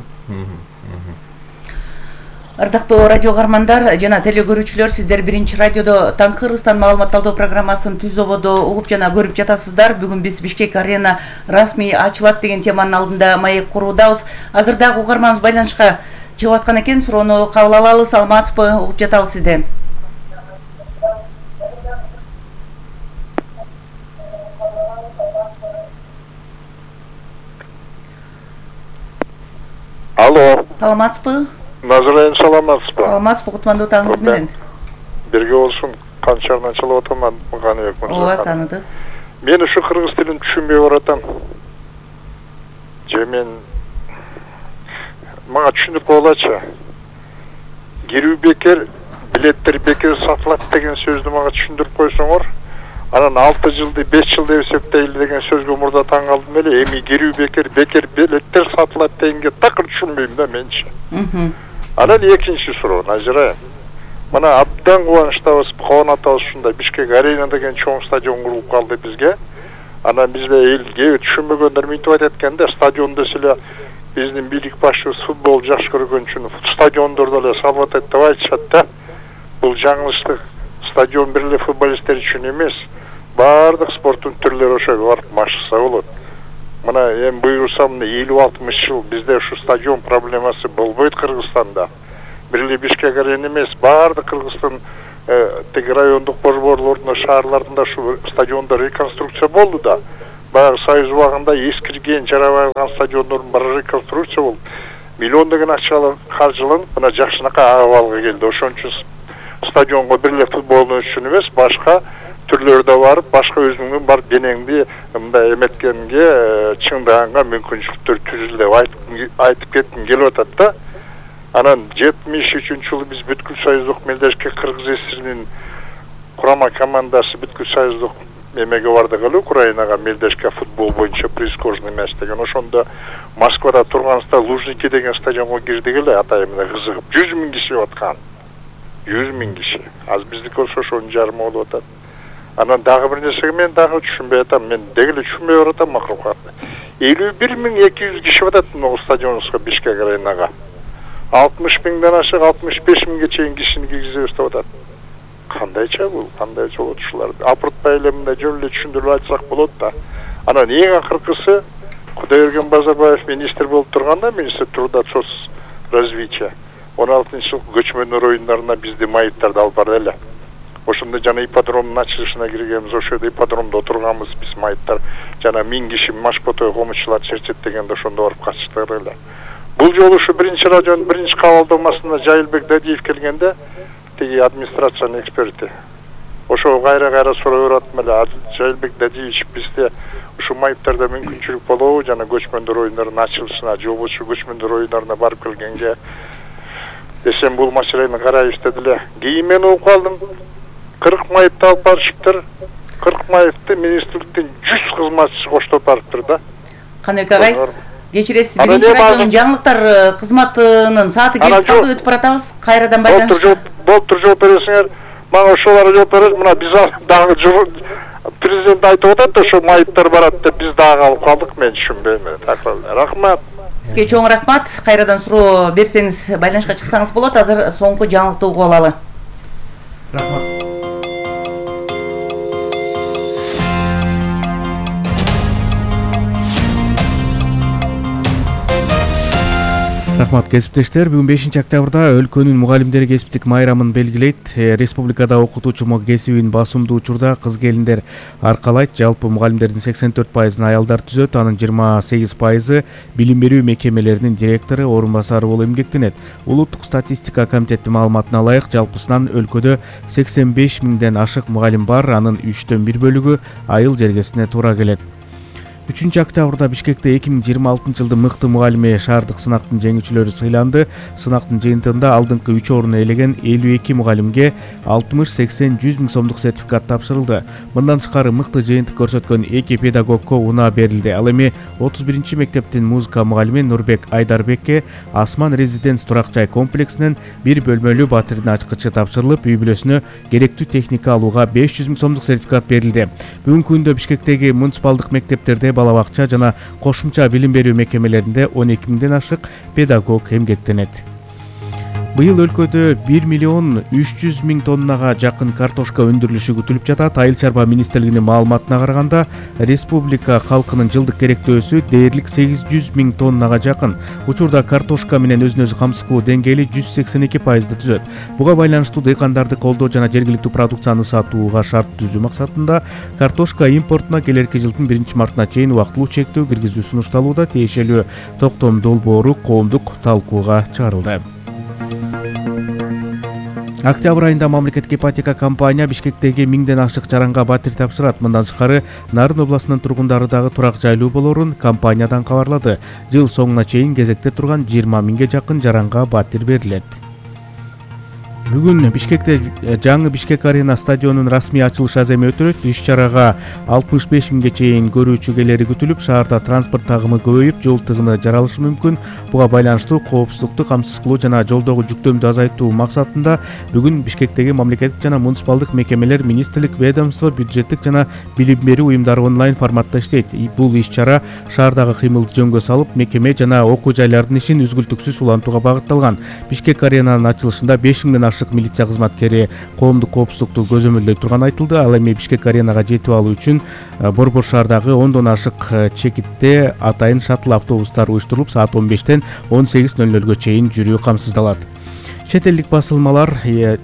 Ардактуу радио угармандар жана теле көрүүчүлөр, сиздер биринчи радиодо Таң Кыргызстан маалыматталдоо программасын түз ободо угуп жана көрүп жатасыздар. Бүгүн биз Бишкек арена расмий ачылат деген теманын алдында маек куруудабыз. Азыр дагы угарманыбыз байланышка чыгып аткан экен, суроону кабыл алалы. Саламатсызбы? Угуп жатабыз сизден. Алло. Саламатсызбы? Назарайым, саламатсызбы? Саламатсызбы, кутмандуу таңыңыз менен. Бирге болсун, Канчарынан чылып атам, Каныбек мырза. Ооба, тааныдык. Мен ушу кыргыз тилин түшүнбөй баратам. Же мен мага түшүнүп койгулачы. Кирүү бекер, билеттер бекер сатылат деген сөздү мага түшүндүрүп койсоңор, анан алты жылды беш жыл деп эсептейли деген сөзгө мурда таң калдым эле. Эми кирүү бекер, бекер билеттер сатылат дегенге такыр түшүнбөйм да менчи. Анан экинчи суроо, Назира. Мына абдан кубанычтабыз, кубанатабыз ушундай Бишкек арена деген чоң стадион курулуп калды бизге. Анан бизде эл кээ түшүнбөгөндөр мынтип айтат экен да, стадион десе эле биздин бийлик башчыбыз футбол жакшы көргөн үчүн стадиондорду эле салып атат деп айтышат да. бул жаңылыштык стадион бир эле футболисттер үчүн эмес, баардык спорттун түрлөрү ошого барып машыкса болот. Мына эми буйрса мына элүү алтымыш жыл бизде ушу стадион проблемасы болбойт Кыргызстанда. Бир эле Бишкек арена эмес, баардык Кыргыздын тиги райондук борборлорунда, шаарларында ушу стадиондор реконструкция болду да. Баягы Союз убагында эскирген, жарабай калган стадиондордун баары реконструкция болду. Миллиондогон акчалар каржыланып, мына жакшынакай абалга келди. Ошон үчүн стадионго бир эле футбол үчүн эмес, башка түрлөрдө барып, башка өзүңдүн бар денеңди мындай эметкенге, чыңдаганга мүмкүнчүлүктөр түзүлдү деп айтып кетким келип атат да. Анан жетимиш үчүнчү жылы биз бүткүл союздук мелдешке Кыргыз ССРинин курама командасы бүткүл союздук эмеге бардык эле, Украинага мелдешке футбол боюнча прискожный мяч деген. Ошондо Москвада турганыбызда Лужники деген стадионго кирдик эле, атайын мына кызыгып. жүз миң киши аткан. жүз миң киши. Аз биздики болсо ошонун жарымы болуп атат. Анан дагы бир нерсеге мен дагы түшүнбөй атам. Мен деги эле түшүнбөй баратам макулкатты. элүү бир миң эки жүз киши атат могу стадионубузга, Бишкек аренага. алтымыш миңден ашык алтымыш беш миңге чейин кишини киргизебиз деп атат. Кандайча бул? Кандайча болот ушулар? Апыртпай эле мындай жөн эле түшүндүрүп айтсак болот да. Анан эң акыркысы Кудайберген Базарбаев министр болуп турганда, министр труда соц развития, он алтынчы жыл көчмөндөр оюндарына бизди майыптарды алып барды эле. Ошондо жана ипподромдун ачылышына киргенбиз, ошол жерде ипподромдо отурганбыз биз майыптар. Жана миң киши Машботой комучулар черчет дегенде ошондо барып катыштык эле. Бул жолу ушу биринчи радионун биринчи кабылдамасына Жайылбек Дадиев келгенде, тиги администрациянын эксперти. Ошо кайра-кайра суроо бератым эле, Жайылбек Дадиевич, бизде ушу майыптарда мүмкүнчүлүк болобу жана көчмөндөр оюндарынын ачылышына, жобочу көчмөндөр оюндарына барып келгенге десем бул маселени карайбыз деди эле. Кийин мен угуп калдым. кырк майыпты алып барышыптыр. кырк майыпты министрликтин жүз кызматчысы коштоп барыптыр да. Каныбек агай, кечиресиз, биринчи радионун жаңылыктар кызматынын сааты келип калды, өтүп баратабыз. Кайрадан байланыш. Болуптур, жооп бересиңер. Мага ошолорго жооп берет. Мына биз дагы президент айтып атат, ошо майыптар барат деп биз дагы алып калдык. Мен түшүнбөйм. Рахмат. Сизге чоң рахмат. Кайрадан суроо берсеңиз, байланышка чыксаңыз болот. Азыр соңку жаңылыкты угуп алалы. Рахмат. Рахмат кесиптештер. Бүгүн бешинчи октябрда өлкөнүн мугалимдери кесиптик майрамын белгилейт. Республикада окутуучу кесибин басымдуу учурда кыз келиндер аркалайт. Жалпы мугалимдердин сексен төрт пайызын аялдар түзөт. Анын жыйырма сегиз пайызы билим берүү мекемелеринин директору, орун басары болуп эмгектенет. Улуттук статистика комитетинин маалыматына ылайык, жалпысынан өлкөдө сексен беш миңден ашык мугалим бар. Анын үчтөн бир бөлүгү айыл жергесине туура келет. үчүнчү октябрда Бишкекте эки миң жыйырма алтынчы жылдын мыкты мугалими шаардык сынактын жеңүүчүлөрү сыйланды. Сынактын жыйынтыгында алдыңкы үч орун ээлеген элүү эки мугалимге алтымыш сексен жүз миң сомдук сертификат тапшырылды. Мындан тышкары мыкты жыйынтык көрсөткөн эки педагогко унаа берилди. Ал эми отуз биринчи мектептин музыка мугалими Нурбек Айдарбекке Асман резиденс турак жай комплексинен бир бөлмөлүү батирдин ачкычы тапшырылып, үй бүлөсүнө керектүү техника алууга беш жүз миң сомдук сертификат берилди. Бүгүнкү күндө Бишкектеги муниципалдык мектептерде бала бакча жана кошумча билим берүү мекемелеринде он эки миңден ашык педагог эмгектенет. Быйыл өлкөдө бир миллион үч жүз миң тоннага жакын картошка өндүрүлүшү күтүлүп жатат. Айыл чарба министрлигинин маалыматына караганда, республика калкынын жылдык керектөөсү дээрлик сегиз жүз миң тоннага жакын. Учурда картошка менен өзүн өзү камсыз кылуу деңгээли жүз сексен эки пайызды түзөт. Буга байланыштуу дыйкандарды колдоо жана жергиликтүү продукцияны сатууга шарт түзүү максатында картошка импортуна келерки жылдын биринчи мартына чейин убактылуу чектөө киргизүү сунушталууда. Тиешелүү токтом долбоору коомдук талкууга чыгарылды. Октябрь айында мамлекеттик ипотека компания Бишкектеги миңден ашык жаранга батир тапшырат. Мындан тышкары Нарын областынын тургундары дагы турак жайлуу болорун компаниядан кабарлады. Жыл соңуна чейин кезекте турган жыйырма миңге жакын жаранга батир берилет. Бүгүн Бишкекте жаңы Бишкек арена стадионунун расмий ачылыш аземи өтүлөт. Иш-чарага алтымыш беш миңге чейин көрүүчү келери күтүлүп, шаарда транспорт тагымы көбөйүп, жол тыгыны жаралышы мүмкүн. Буга байланыштуу коопсуздукту камсыз кылуу жана жолдогу жүктөмдү азайтуу максатында бүгүн Бишкектеги мамлекеттик жана муниципалдык мекемелер, министрлик, ведомство, бюджеттик жана билим берүү уюмдары онлайн форматта иштейт. Бул иш-чара шаардагы кыймылды жөнгө салып, мекеме жана окуу жайлардын ишин үзгүлтүксүз улантууга багытталган. Бишкек аренанын ачылышында беш миңден ашык ашык милиция кызматкери коомдук коопсуздукту көзөмөлдөй турганы айтылды. Ал эми Бишкек аренага жетип алуу үчүн Борбор шаардагы ондон ашык чекитте атайын шаттл автобустар уюштурулуп, саат он бештен он сегиз ноль нолго чейин жүрүү камсыздалат. Чет элдик басылмалар,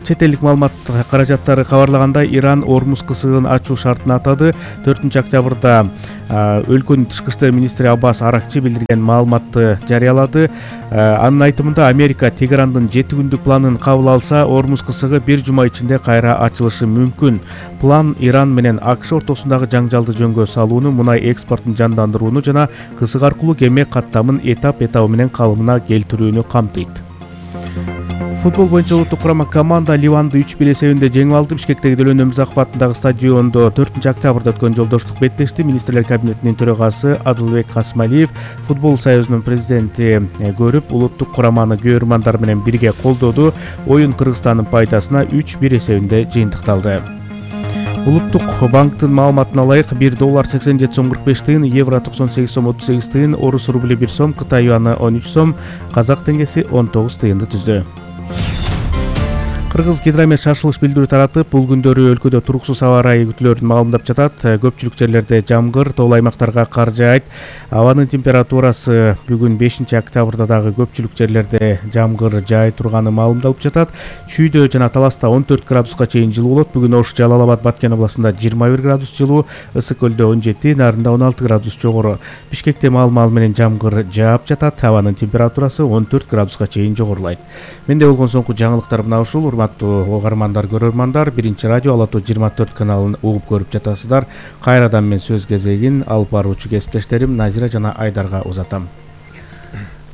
чет элдик маалымат каражаттары кабарлагандай, Иран Ормуз кысыгын ачуу шартын атады. төртүнчү октябрда өлкөнүн тышкы иштер министри Аббас Аракчи билдирген маалыматты жарыялады. Анын айтымында Америка Тегерандын жети күндүк планын кабыл алса, Ормуз кысыгы бир жума ичинде кайра ачылышы мүмкүн. План Иран менен АКШ ортосундагы жаңжалды жөнгө салууну, мунай экспортун жандандырууну жана кысык аркылуу кеме каттамын этап-этабы менен калыбына келтирүүнү камтыйт. Футбол боюнча улуттук курама команда Ливанды үч бир эсебинде жеңип алды. Бишкектеги Делен Өмүзаков атындагы стадиондо төртүнчү октябрда өткөн жолдоштук беттешти. Министрлер кабинетинин төрагасы Адылбек Касмалиев, футбол союзунун президенти көрүп, улуттук кураманы көрөрмандар менен бирге колдоду. Оюн Кыргызстандын пайдасына үч бир эсебинде жыйынтыкталды. Улуттук банктын маалыматына ылайык, бир доллар сексен жети сом кырк беш тыйын, евро токсон сегиз сом отуз сегиз тыйын, орус рубли бир сом, Кытай юаны он үч сом, казак теңгеси он тогуз тыйынды түздү. Кыргыз Гидромет шашылыш билдирүү таратып, бул күндөрү өлкөдө туруксуз аба ырайы күтүлөрүн маалымдап жатат. Көпчүлүк жерлерде жамгыр, тоол аймактарга кар жаайт. Абанын температурасы бүгүн бешинчи октябрда дагы көпчүлүк жерлерде жамгыр жаай турганы маалымдалып жатат. Чүйдө жана Таласта он төрт градуска чейин жылуу болот. Бүгүн Ош, Жалал Абад, Баткен областында жыйырма бир градус жылуу, Ысык көлдө он жети, Нарында он алты градус жогору. Бишкекте маал-маал менен жамгыр жаап жатат. Абанын температурасы он төрт градуска чейин жогорулайт. Менде болгон соңку жаңылыктар мына ушул. Урматтуу угармандар, көрөрмандар, биринчи радио Ала тоо жыйырма төрт каналын угуп көрүп жатасыздар. Кайрадан мен сөз кезегин алып баруучу кесиптештерим Назира жана Айдарга узатам.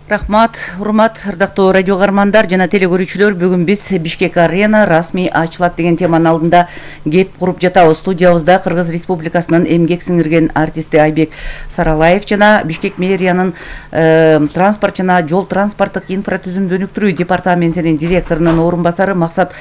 Рахмат, урмат, ырдактуу радио угармандар жана телекөрүүчүлөр, бүгүн биз Бишкек арена расмий ачылат деген теманын алдында кеп куруп жатабыз. Студиябызда Кыргыз Республикасынын эмгек сиңирген артисти Айбек Саралаев жана Бишкек мэриянын э, транспорт жана жол транспорттук инфратүзүмдү өнүктүрүү департаментинин директорунун орун басары Максат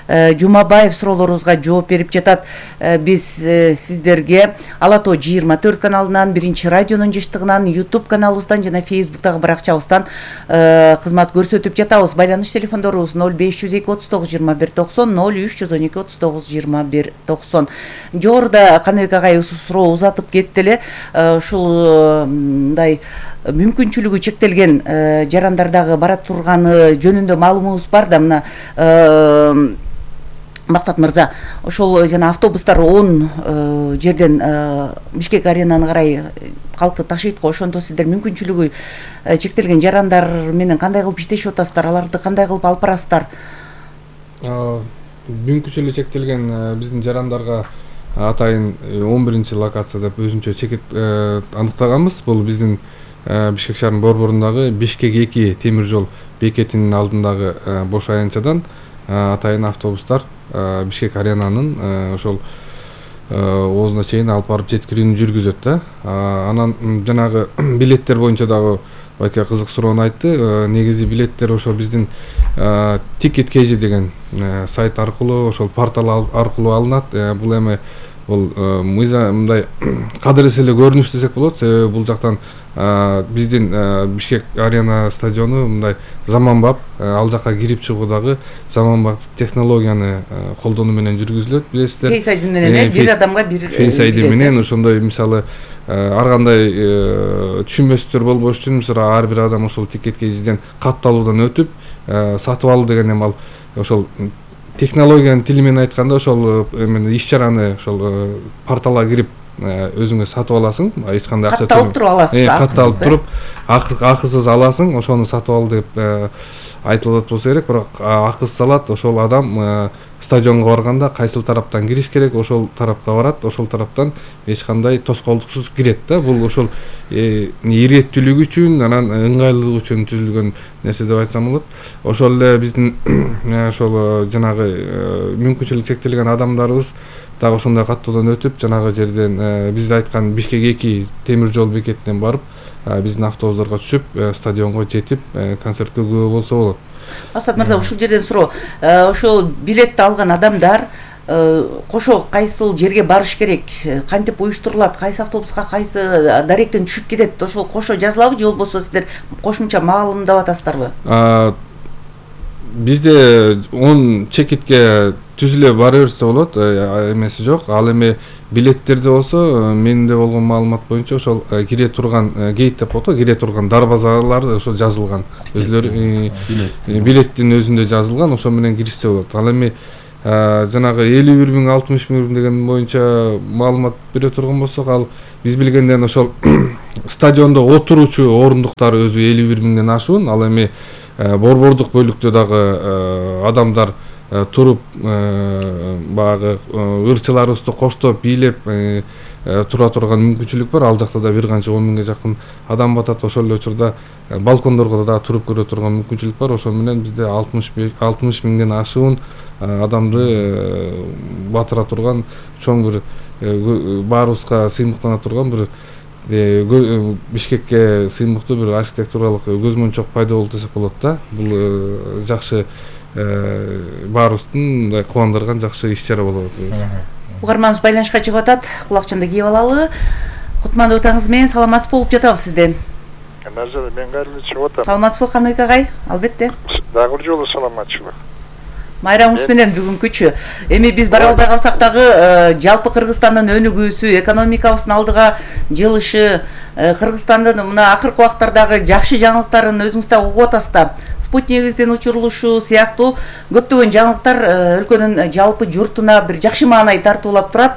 э, Жумабаев суроолорубузга жооп берип жатат. Э, биз э, сиздерге Ала тоо жыйырма төрт каналынан, биринчи радионун жыштыгынан, YouTube каналыбыздан жана Facebooктагы баракчабыздан кызмат көрсөтүп жатабыз. Байланыш телефондорубуз ноль беш жүз эки отуз тогуз жыйырма бир токсон, ноль үч жүз он эки отуз тогуз жыйырма бир токсон. Жогоруда Каныбек агай суроо узатып кетти эле. Ушул мындай мүмкүнчүлүгү чектелген жарандардагы бара турганы жөнүндө маалымыбыз бар да, мына Максат мырза, ошол жана автобустар он э, жерден э, Бишкек аренаны карай калкты ташыйт го. Ошондо сиздер мүмкүнчүлүгү э, чектелген жарандар менен кандай кылып иштешип атасыздар, аларды кандай кылып алып барасыздар? Мүмкүнчүлүгү чектелген биздин жарандарга атайын он биринчи локацияда өзүнчө чекит э, аныктаганбыз. Бул биздин э, Бишкек шаарынын борборундагы Бишкек эки темир жол бекетинин алдындагы э, бош аянтчадан э, атайын автобустар Бишкек аренанын ошол оозуна чейин алып барып жеткирүүнү жүргүзөт да. Анан жанагы билеттер боюнча дагы байке кызык суроону айтты. Негизи билеттер ошол биздин Ticket кей джи деген сайт аркылуу, ошол портал аркылуу алынат. Бул эми бул мыйза мындай кадыр эселе көрүнүш десек болот. Себеби бул жактан биздин Бишкек арена стадиону мындай заманбап, ал жака кирип чыгуу дагы заманбап технологияны колдонуу менен жүргүзүлөт, билесиздер. Face ай ди менен бир адамга бир Face ай ди менен ошондой мисалы ар кандай түшүнбөстөр болбош үчүн мисалы ар бир адам ошол Ticket кей джиден катталуудан өтүп сатып алуу деген эми ал ошол технологиянын тили менен айтканда ошол эми иш чараны ошол порталга кирип өзүңө сатып аласың, эч кандай акча катталып туруп аласыз, катталып туруп акысыз аласың, ошону сатып ал деп айтылат болсо керек. Бирок акысыз алат ошол адам стадионго барганда кайсыл тараптан кириш керек, ошол тарапка барат, ошол тараптан эч кандай тоскоолдуксуз кирет да. Бул ошол иреттүүлүк үчүн, анан ыңгайлуулук үчүн түзүлгөн нерсе деп айтсам болот. Ошол эле биздин ошол жанагы мүмкүнчүлүгү чектелген адамдарыбыз дагы ошондой каттоодон өтүп, жанагы жерден биз айткан Бишкек эки темир жол бекетинен барып, биздин автобустарга түшүп, стадионго жетип, концертке күбө болсо болот. Асат мырза, ушул жерден суроо. Ошол билетти алган адамдар кошо кайсыл жерге барыш керек, кантип уюштурулат, кайсы автобуска кайсы даректен түшүп кетет, ошол кошо жазылабы же болбосо сиздер кошумча маалымдап атасыздарбы? бизде он чекитке түзүлө бара берсе болот, эмеси жок. Ал эми билеттерде болсо, менде болгон маалымат боюнча ошол кире турган гейт деп коет, кире турган дарбазалар ошо жазылган. Өзлөрү билеттин өзүндө жазылган, ошо менен киришсе болот. Ал эми жанагы элүү бир миң алтымыш миң деген боюнча маалымат бере турган болсок, ал биз билгенден ошол стадиондо отуруучу орундуктар өзү элүү бир миңден ашуун. Ал эми борбордук бөлүктө дагы адамдар туруп баягы ырчыларыбызды коштоп бийлеп тура турган мүмкүнчүлүк бар. Ал жакта да бир канча он миңге жакын адам батат. Ошол эле учурда балкондорго да туруп көрө турган мүмкүнчүлүк бар. Ошо менен бизде алтымыш миңден ашуун адамды батыра турган чоң бир баарыбызга сыймыктана турган бир Бишкекке сыймыктуу бир архитектуралык көзмөнчөк пайда болду десек болот да. Бул жакшы баарыбыздын мындай кубандырган жакшы иш-чара болот. Угарманыбыз байланышка чыгып атат. Кулакчанды кийип алалы. Кутмандуу таңыңыз менен саламатсызбы угуп жатабыз сизден. Назар, мен кайрылып чыгып атам. Саламатсызбы Каныбек агай? Албетте. Дагы бир жолу саламатчылык. Майрамыбыз менен бүгүнкүчү. Эми биз бара албай калсак дагы жалпы Кыргызстандын өнүгүүсү, экономикабыздын алдыга жылышы, Кыргызстандын мына акыркы убактардагы жакшы жаңылыктарын өзүңүз да угуп атасыз да. Спутнигибиздин учурулушу сыяктуу көптөгөн жаңылыктар өлкөнүн жалпы журтуна бир жакшы маанай тартуулап турат.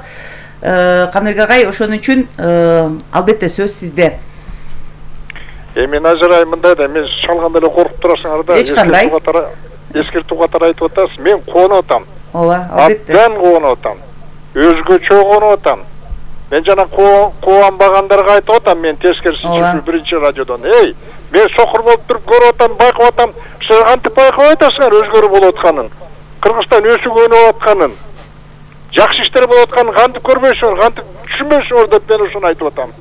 Каныбек агай, ошон үчүн албетте сөз сизде. Эми Назарай мындай да, мен шалганда эле коркуп турасыңар да. Эч кандай. Эскертүү катары айтып атасыз. Мен куанып атам. Ооба, албетте. Абдан куанып атам. Өзгөчө куанып атам. Мен жана кубанбагандарга айтып атам, мен тескерисин жүрүп биринчи радиодон. Эй, мен сокур болуп туруп көрүп атам, байкап атам. Сиз кантип байкап атасыңар өзгөрүп болуп атканын? Кыргызстан өсүп өнүгүп атканын, жакшы иштер болуп атканын кантип көрбөйсүңөр, кантип түшүнбөйсүңөр деп мен ушуну айтып атам.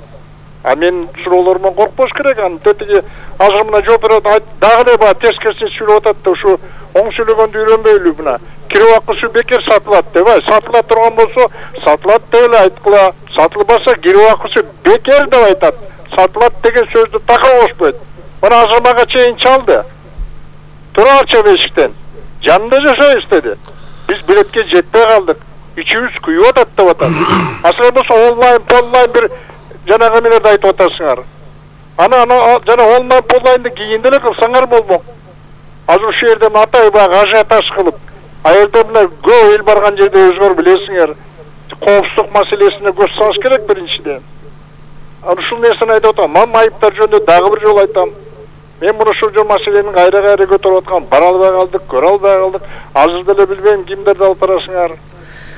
А мен суроолоруман коркпош керек. Аны тетиги азыр мына жооп берет, дагы эле баягы тескерисин сүйлөп атат да, ушу оң сүйлөгөндү үйрөнбөйлү мына. Кире акысы бекер сатылат деп, ай, сатыла турган болсо, сатылат деп эле айткыла. Сатылбаса кире акысы бекер деп айтат. Сатылат деген сөздү така кошпойт. Мына азыр мага чейин чалды. Турарчы бешиктен. Жанында жашайбыз деди. Биз билетке жетпей калдык. Ичибиз күйүп атат деп атат. Азыр болсо онлайн, онлайн бир жанагы менен айтып атасыңар. Ана ана жана онлайн онлайнды кийинде эле кылсаңар болмок. Азыр ушул жерде атай баягы ажиотаж кылып, а жерде мына көп эл барган жерде өзгөр билесиңер, коопсуздук маселесине көз салыш керек биринчиден. Аны ушул нерсени айтып атам. Мен айыптар жөнүндө дагы бир жолу айтам. Мен муну ушул жол маселенин кайра-кайра көтөрүп аткан, бара албай калдык, көрө албай калдык. Азыр деле билбейм кимдерди алып барасыңар.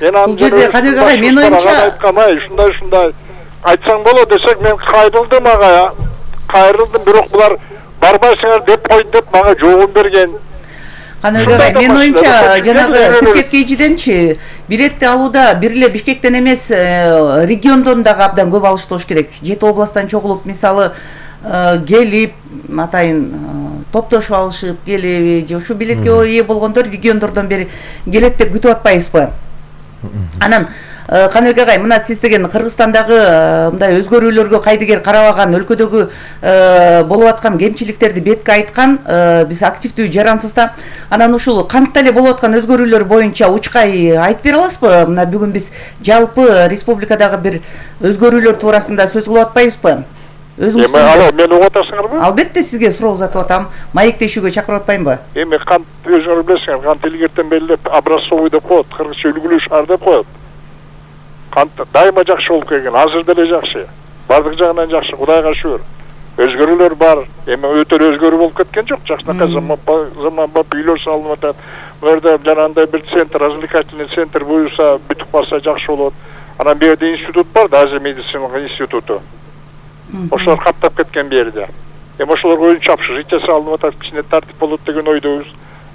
Мен аны Каныбек агай, мен оюмча айткам, ай, ушундай ушундай айтсаң болот десек, мен кайрылдым ага. Кайрылдым, бирок булар барбайсыңар деп койду деп мага жообун берген. Каныбек агай, мен оюмча жанагы Түркет кейжиденчи билетти алууда бир эле Бишкектен эмес, региондон дагы абдан көп алыштуу болуш керек. Жети областтан чогулуп, мисалы, келип, атайын топтошуп алышып келеби, же ушу билетке ээ болгондор региондордон бери келет деп күтүп атпайбызбы? Анан Каныбек агай, мына сиз деген Кыргызстандагы мындай өзгөрүүлөргө кайдыгер карабаган, өлкөдөгү болуп аткан кемчиликтерди бетке айткан, биз активдүү жарансыз да. Анан ушул кантип эле болуп аткан өзгөрүүлөр боюнча учкай айтып бере аласызбы? Мына бүгүн биз жалпы республикадагы бир өзгөрүүлөр туурасында сөз кылып атпайбызбы? Өзүңүз алло, мени угуп атасыңарбы? Албетте, сизге суроо узатып атам. Маектешүүгө чакырып атпаймынбы? Эми кант өзүңөр билесиңер, кант илгертен белгилеп образцовый деп коет, кыргызча үлгүлүү шаар деп коет. Кант дайыма жакшы болуп келген, азыр деле жакшы. Бардык жагынан жакшы, Кудайга шүгүр. Өзгөрүүлөр бар. Эми өтө өзгөрүү болуп кеткен жок. Жакшынакай заманбап үйлөр салынып атат. Бул жерде жанагындай бир центр, развлекательный центр буюрса, бүтүп калса жакшы болот. Анан бу жерде институт бар, Азия медициналык институту. Ошолор каптап кеткен бу жерде. Эми ошолорго өзүнчө общежитие салынып атат, кичине тартип болот деген ойдобуз.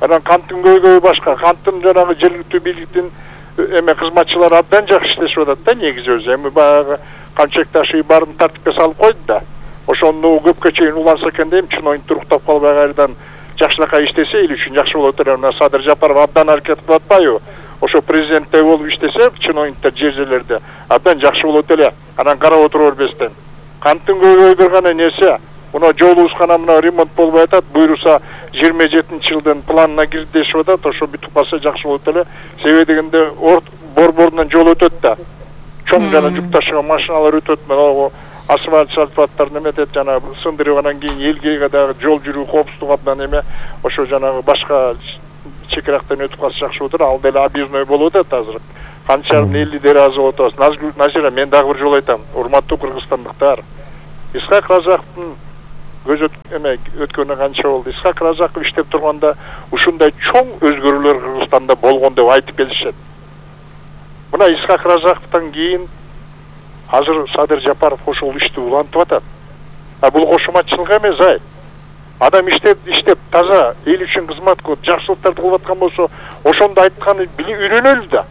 Анан канттын көйгөйү башка, канттын жанагы жергиликтүү бийликтин эме кызматчылары абдан жакшы иштешип атат да, негизи өзү. Эми баягы камчек ташый баарын тартипке салып койду да. Ошону көпкө чейин уланса экен дейм, чын туруктап калбай кайрадан жакшынакай иштесе эл үчүн жакшы болот эле. Мына Садыр Жапаров абдан аракет кылып атпайбы? Ошо президенттей болуп иштесе, чын оюнтар жер жерлерде абдан жакшы болот эле. Анан карап отура бербестен. Канттын көйгөйү бир гана нерсе, Мына жолубузга мына ремонт болбой атат, буйруса жыйырма жетинчи жылдын планына кирди дешип атат. Ошо бүтүп калса жакшы болот эле. Себеби дегенде борборунан жол өтөт да. Чоң жана жүк ташыган машиналар өтөт. Мына асфальт шарпаттарын эметет, жана сындырып анан кийин элге дагы жол жүрүү коопсуздугу абдан эме. Ошо жанагы башка чекирактан өтүп калса жакшы болот. Ал деле объездной болуп атат азыр. Канча элүү дера азып атабыз. Назира, мен дагы бир жолу айтам. Урматтуу кыргызстандыктар. Исхак Разаковдун көз эме өткөнү канча болду. Исхак Разаков иштеп турганда ушундай чоң өзгөрүүлөр Кыргызстанда болгон деп айтып келишет. Мына Исхак Разаковдон кийин азыр Садыр Жапаров ошол ишти улантып атат. А бул кошуматчылык эмес, ай. Адам иштеп, иштеп таза эл үчүн кызмат кылып, жакшылыктарды кылып аткан болсо, ошондо айтканы үйрөнөлү да.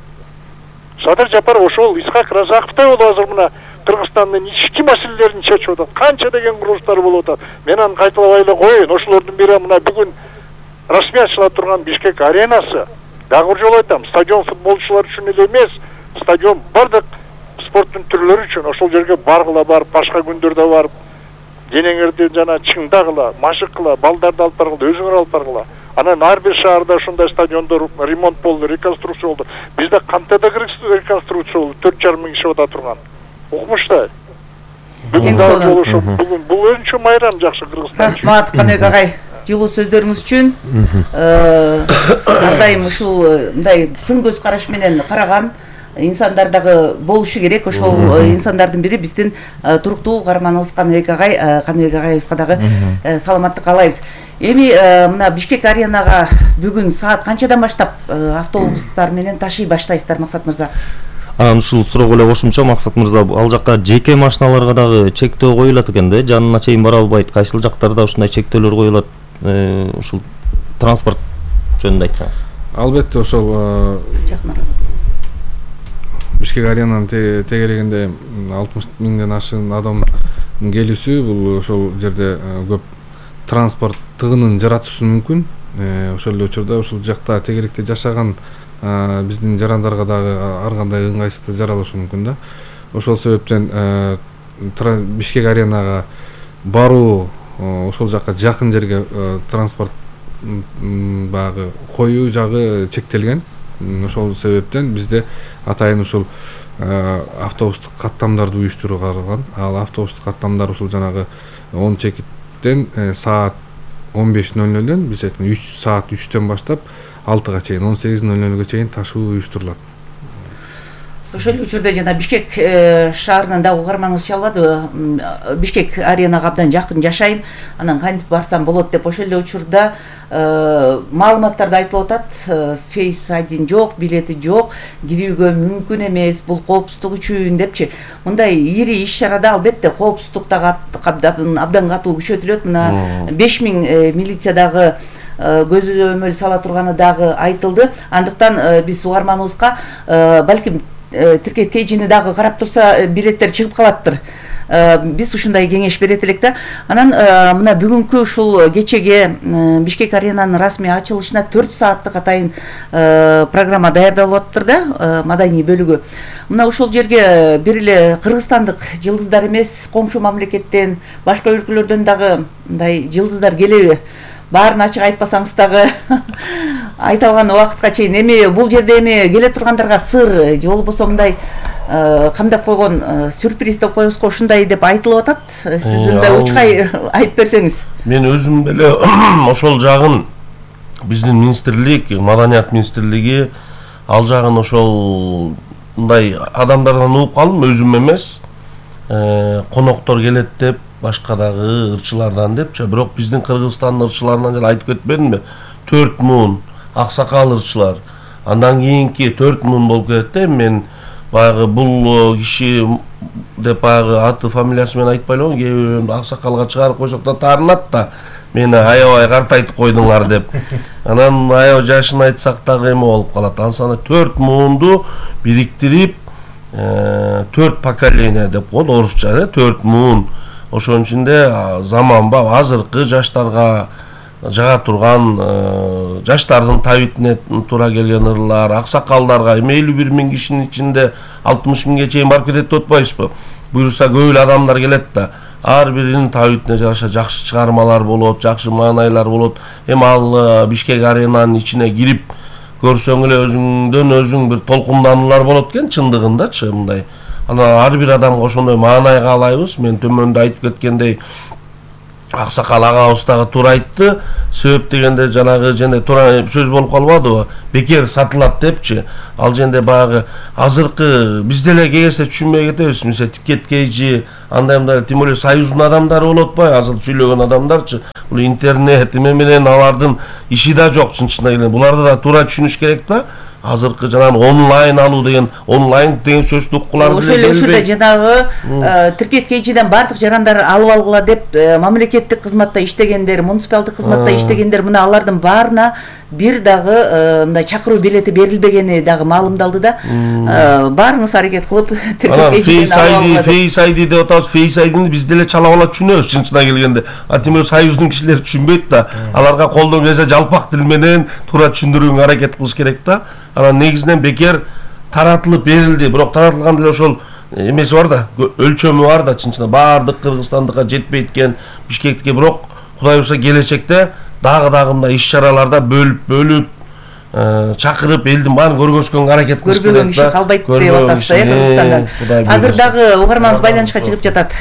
Садыр Жапаров ошол Исхак Разаковдой болуп азыр мына Кыргызстандын ички маселелерин чечип атат. Канча деген курулуштар болуп атат. Мен аны кайталабай эле коеюн. Ошолордун бири мына бүгүн расмий ачыла турган Бишкек аренасы. Дагы бир жолу айтам, стадион футболчулар үчүн эле эмес, стадион бардык спорттун түрлөрү үчүн. Ошол жерге баргыла барып, башка күндөрдө барып, денеңерди жана чыңдагыла, машыккыла, балдарды алып баргыла, өзүңөр алып баргыла. Анан ар бир шаарда ушундай стадиондор ремонт болду, реконструкция болду. Бизде кантада реконструкция болду, төрт жарым миң киши ата турган. Укмуштай. Бүгүн дагы болушу, бүгүн бул өзүнчө майрам жакшы Кыргызстан үчүн. Рахмат Каныбек агай, жылуу сөздөрүңүз үчүн. Ар дайым ушул мындай сын көз караш менен караган инсандар дагы болушу керек. Ошол инсандардын бири биздин туруктуу каарманыбыз Каныбек агай. Каныбек агайыбызга дагы саламаттык каалайбыз. Эми мына Бишкек аренага бүгүн саат канчадан баштап автобустар менен ташый баштайсыздар, Максат мырза? Анан ушул суроого эле кошумча, Максат мырза, ал жакка жеке машиналарга дагы чектөө коюлат экен да, жанына чейин бара албайт. Кайсыл жактарда ушундай чектөөлөр коюлат? Ушул транспорт жөнүндө айтсаңыз. Албетте, ошол Бишкек аренанын тегерегинде алтымыш миңден ашык адамдын келүүсү, бул ошол жерде көп транспорт тыгынын жаратышы мүмкүн. Ошол эле учурда ушул жакта тегеректе жашаган биздин жарандарга дагы ар кандай ыңгайсыздык жаралышы мүмкүн да. Ошол себептен Бишкек аренага баруу, ошол жакка жакын жерге транспорт багы коюу жагы чектелген. Ошол себептен бизде атайын ушул автобустук каттамдарды уюштуруу каралган. Ал автобустук каттамдар ушул жанагы он чекиттен саат он беш нөл нөлдөн биз айткан үч саат үчтөн баштап алтыга чейин, он сегиз нөл нөлгө чейин ташуу уюштурулат. Ошол учурда жана Бишкек шаарынан дагы угарманыңыз чалбады. Бишкек аренага абдан жакын жашайм, анан кантип барсам болот деп ошол эле учурда маалыматтарда айтылып атат. Фейс один жок, билети жок, кирүүгө мүмкүн эмес, бул коопсуздук үчүн депчи. Мындай ири иш-чарада албетте коопсуздук дагы абдан катуу күчөтүлөт. Мына беш миң милиция дагы көзөмөл сала турганы дагы айтылды. Андыктан биз угарманыбызга балким тиркеткей жини дагы карап турса билеттер чыгып калаттыр. Биз ушундай кеңеш берет элек да. Анан мына бүгүнкү ушул кечеге Бишкек аренанын расмий ачылышына төрт сааттык атайын программа даярдалып атыптыр да, маданий бөлүгү. Мына ушул жерге бир эле кыргызстандык жылдыздар эмес, коңшу мамлекеттен, башка өлкөлөрдөн дагы мындай жылдыздар келеби? Баарын ачык айтпасаңыз дагы айта алган убакытка чейин эми бул жерде эми келе тургандарга сыр же болбосо мындай камдап койгон сюрприз деп коебузго, ушундай деп айтылып атат. Сиз мындай учкай айтып берсеңиз. Мен өзүм деле ошол жагын биздин министрлик, маданият министрлиги ал жагын ошол мындай адамдардан угуп калдым, өзүм эмес. Коноктор келет деп, башка дагы ырчылардан депчи, бирок биздин Кыргызстандын ырчыларынан эле айтып кетпедимби? төрт миң аксакал ырчылар. Андан кийинки төрт миң болуп кетет да. Мен баягы бул киши деп баягы аты фамилиясы менен айтпай эле, кээ бирөө аксакалга чыгарып койсок да таарынат да. Мени аябай картайтып койдуңар деп. Анан аябай жашын айтсак дагы эме болуп калат. Ансана төрт миңду бириктирип төрт поколение деп коет орусча, төрт миң. Ошонун ичинде заманба азыркы жаштарга жага турган жаштардын табитине туура келген ырлар, аксакалдарга эми элүү бир миң кишинин ичинде алтымыш миңге чейин барып кетет деп атпайбызбы? Буюрса көп эле адамдар келет да. ар биринин табитине жараша жакшы чыгармалар болот, жакшы маанайлар болот. Эми ал Бишкек Аренанын ичине кирип көрсөң эле өзүңдөн өзүң бир толкундануулар болот экен чындыгындачы мындай. Анан ар бир адамга ошондой маанай каалайбыз. Мен төмөндө айтып кеткендей Аксакал агабыз дагы туура айтты. Себеп дегенде жанагы жана туура сөз болуп калбадыбы? Бекер сатылат депчи. Ал жерде баягы азыркы биз деле кегерсе түшүнбөй кетебиз. Мисалы Тикеткейчи андай мындай тем более союздун адамдары болот атпайбы? Азыр сүйлөгөн адамдарчы. Бул интернет эме менен алардын иши да жок чын-чынына келгенде. Буларды да туура түшүнүш керек да. Азыркы жанагы онлайн алуу деген онлайн деген сөздү уккулар ошол эле ушунда жанагы Тиркеткейчиден бардык жарандар алып алгыла деп мамлекеттик кызматта иштегендер, муниципалдык кызматта иштегендер мына алардын баарына бир дагы мындай чакыруу билети берилбегени дагы маалымдалды да. Баарыңыз аракет кылып Тиркеткейчиден алып алгыла. Face ай ди деп атабыз. Face ай дини биз деле чала бала түшүнөбүз чын-чынына келгенде. А тем более союздун кишилери түшүнбөйт да. Аларга колдон келсе жалпак тил менен туура түшүндүрүүгө аракет кылыш керек да. Анан негизинен бекер таратылып берилди. Бирок таратылган деле ошол эмеси бар да, өлчөмү бар да чын-чынында баардык Кыргызстандыкка жетпейт экен, Бишкекке. Бирок Кудай буйрса келечекте дагы-дагы мындай иш-чараларда бөлүп-бөлүп чакырып элдин баарын көргөзгөнгө аракет кылыш керек да. Көрбөгөн киши калбайт деп атасыз э Кыргызстанда. Азыр дагы угарманыбыз байланышка чыгып жатат.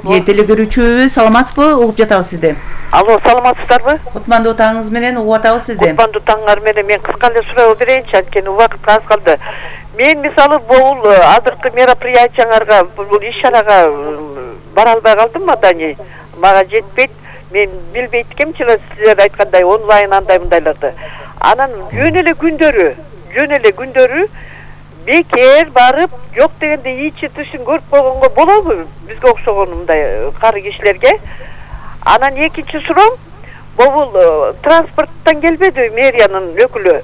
Же телегөрүүчүбүз, саламатсызбы? Угуп жатабыз сизди. Алло, саламатсыздарбы? Кутмандуу таңыңыз менен угуп атабыз сизди. Кутмандуу таңыңар менен мен кыска эле суроо берейинчи, анткени убакыт аз калды. Мен мисалы бул азыркы мероприятияңарга, бул иш-чарага бара албай калдым мадани. Мага жетпейт. Мен билбейт экенмин силер айткандай онлайн андай мындайларды. Анан жөн эле күндөрү, жөн эле күндөрү бекер барып, жок дегенде ичи тышын көрүп койгонго болобу? Бизге окшогон мындай кары кишилерге. Анан экинчи суроом, бул транспорттан келбеди мэриянын өкүлү.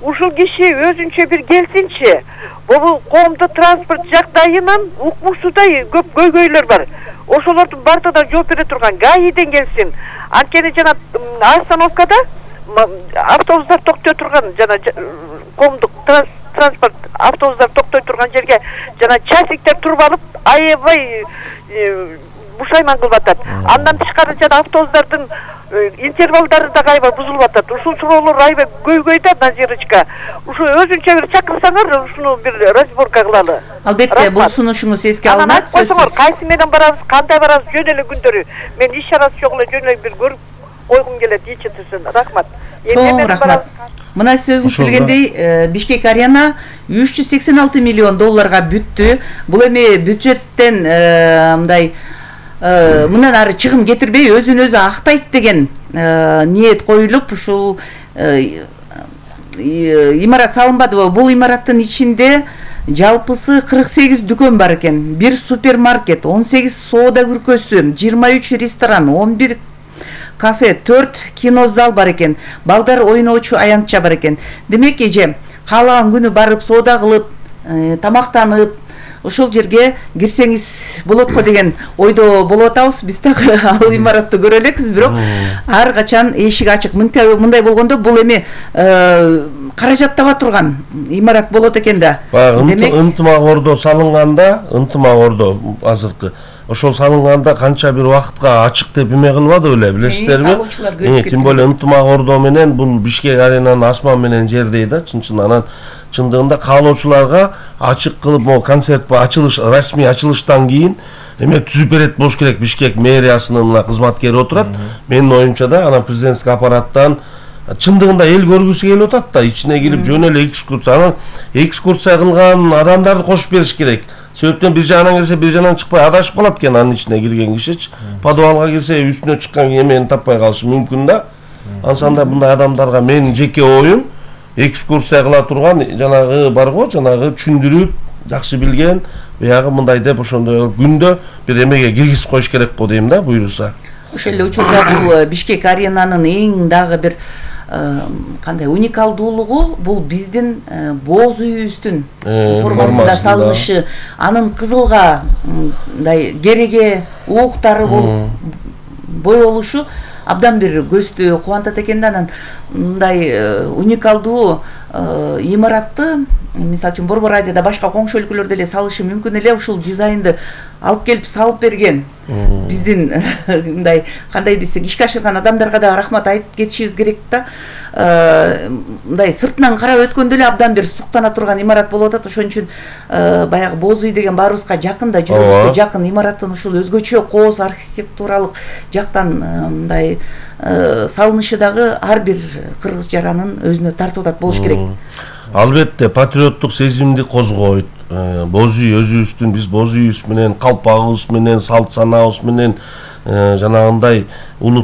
Ушул киши өзүнчө бир келсинчи. Бул коомдук транспорт жагдайынан укмуксудай көп көйгөйлөр бар. Ошолордун бардыгына жооп бере турган ГАИден келсин. Анткени жана остановкада автобустар токтой турган, жана коомдук транспорт автобустар токтой турган жерге жана часиктер туруп алып, аябай бушайман кылып атат. Андан тышкары жана автобустардын интервалдары да аябай бузулуп атат. Ушул суроолор аябай көйгөйдө Назирочка. Ушу өзүнчө бир чакырсаңар, ушуну бир разборка кылалы. Албетте, бул сунушуңуз эске алынат. Койсоңор, кайсы менен барабыз, кандай барабыз, жөн эле күндөрү. Мен иш-чарасы жок эле жөн эле бир көрүп койгум келет, ичи тышын. Рахмат. Чоң рахмат. Мына сөзүңүз билгендей, Бишкек Арена үч жүз сексен алты миллион долларга бүттү. Бул эми бюджеттен мындай мындан ары чыгым кетирбей өзүн өзү актайт деген ниет коюлуп ушул имарат салынбадыбы? Бул имараттын ичинде жалпысы кырк сегиз дүкөн бар экен, бир супермаркет, он сегиз соода күркөсү, жыйырма үч ресторан, он бир кафе, төрт кинозал бар экен, балдар ойноочу аянтча бар экен. Демек эже каалаган күнү барып соода кылып, тамактанып, ошол жерге кирсеңиз болот го деген ойдо болуп атабыз. Биз дагы ал имаратты көрө элекпиз, бирок ар качан эшик ачык. Мындай болгондо бул эми каражат таба турган имарат болот экен да. Демек ынтымак ордо салынганда, ынтымак ордо азыркы ошол салынганда канча бир убакытка ачык деп эме кылбады беле, билесиздерби? Тем более ынтымак ордо менен бул Бишкек Аренанын асман менен жердей да, чын-чын. Анан чындыгында каалоочуларга ачык кылып, могу концерт ачылыш, расмий ачылыштан кийин эме түзүп берет болуш керек. Бишкек мэриясынын мына кызматкери отурат. Менин оюмча да, анан президенттик аппараттан чындыгында эл көргүсү келип атат да, ичине кирип жөн эле экскурсия, анан экскурсия кылган адамдарды кошуп бериш керек. Себептен бир жагынан келсе, бир жагынан чыкпай адашып калат экен анын ичине кирген кишичи. Подвалга кирсе, үстүнө чыккан эмени таппай калышы мүмкүн да. Ансанда мындай адамдарга менин жеке оюм, экскурсия кыла турган жанагы бар го, жанагы түшүндүрүп, жакшы билген, баягы мындай деп ошондой күндө бир эмеге киргизип коюш керек го дейм да, буйруса. Ошол эле учурда бул Бишкек Аренанын эң дагы бир кандай уникалдуулугу бул биздин боз үйүбүздүн формасында салынышы, анын кызылга мындай кереге ууктары болуп боелушу абдан бир көздү кубантат экен да. Анан мындай уникалдуу имаратты мисалы үчүн Борбор Азияда башка коңшу өлкөлөр деле салышы мүмкүн эле, ушул дизайнды алып келип салып берген биздин мындай кандай десек ишке ашырган адамдарга да рахмат айтып кетишибиз керек да. Мындай сыртынан карап өткөндө эле абдан бир суктана турган имарат болуп атат. Ошон үчүн баягы Боз үй деген баарыбызга жакын да, жүрөгүбүзгө жакын. Имараттын ушул өзгөчө кооз архитектуралык жактан мындай салынышы дагы ар бир кыргыз жаранын өзүнө тартып атат болуш керек. Албетте патриоттук сезимди козгойт. Боз үй өзүбүздүн, биз боз үйүбүз менен, калпагыбыз менен, салт санаабыз менен жанагындай улут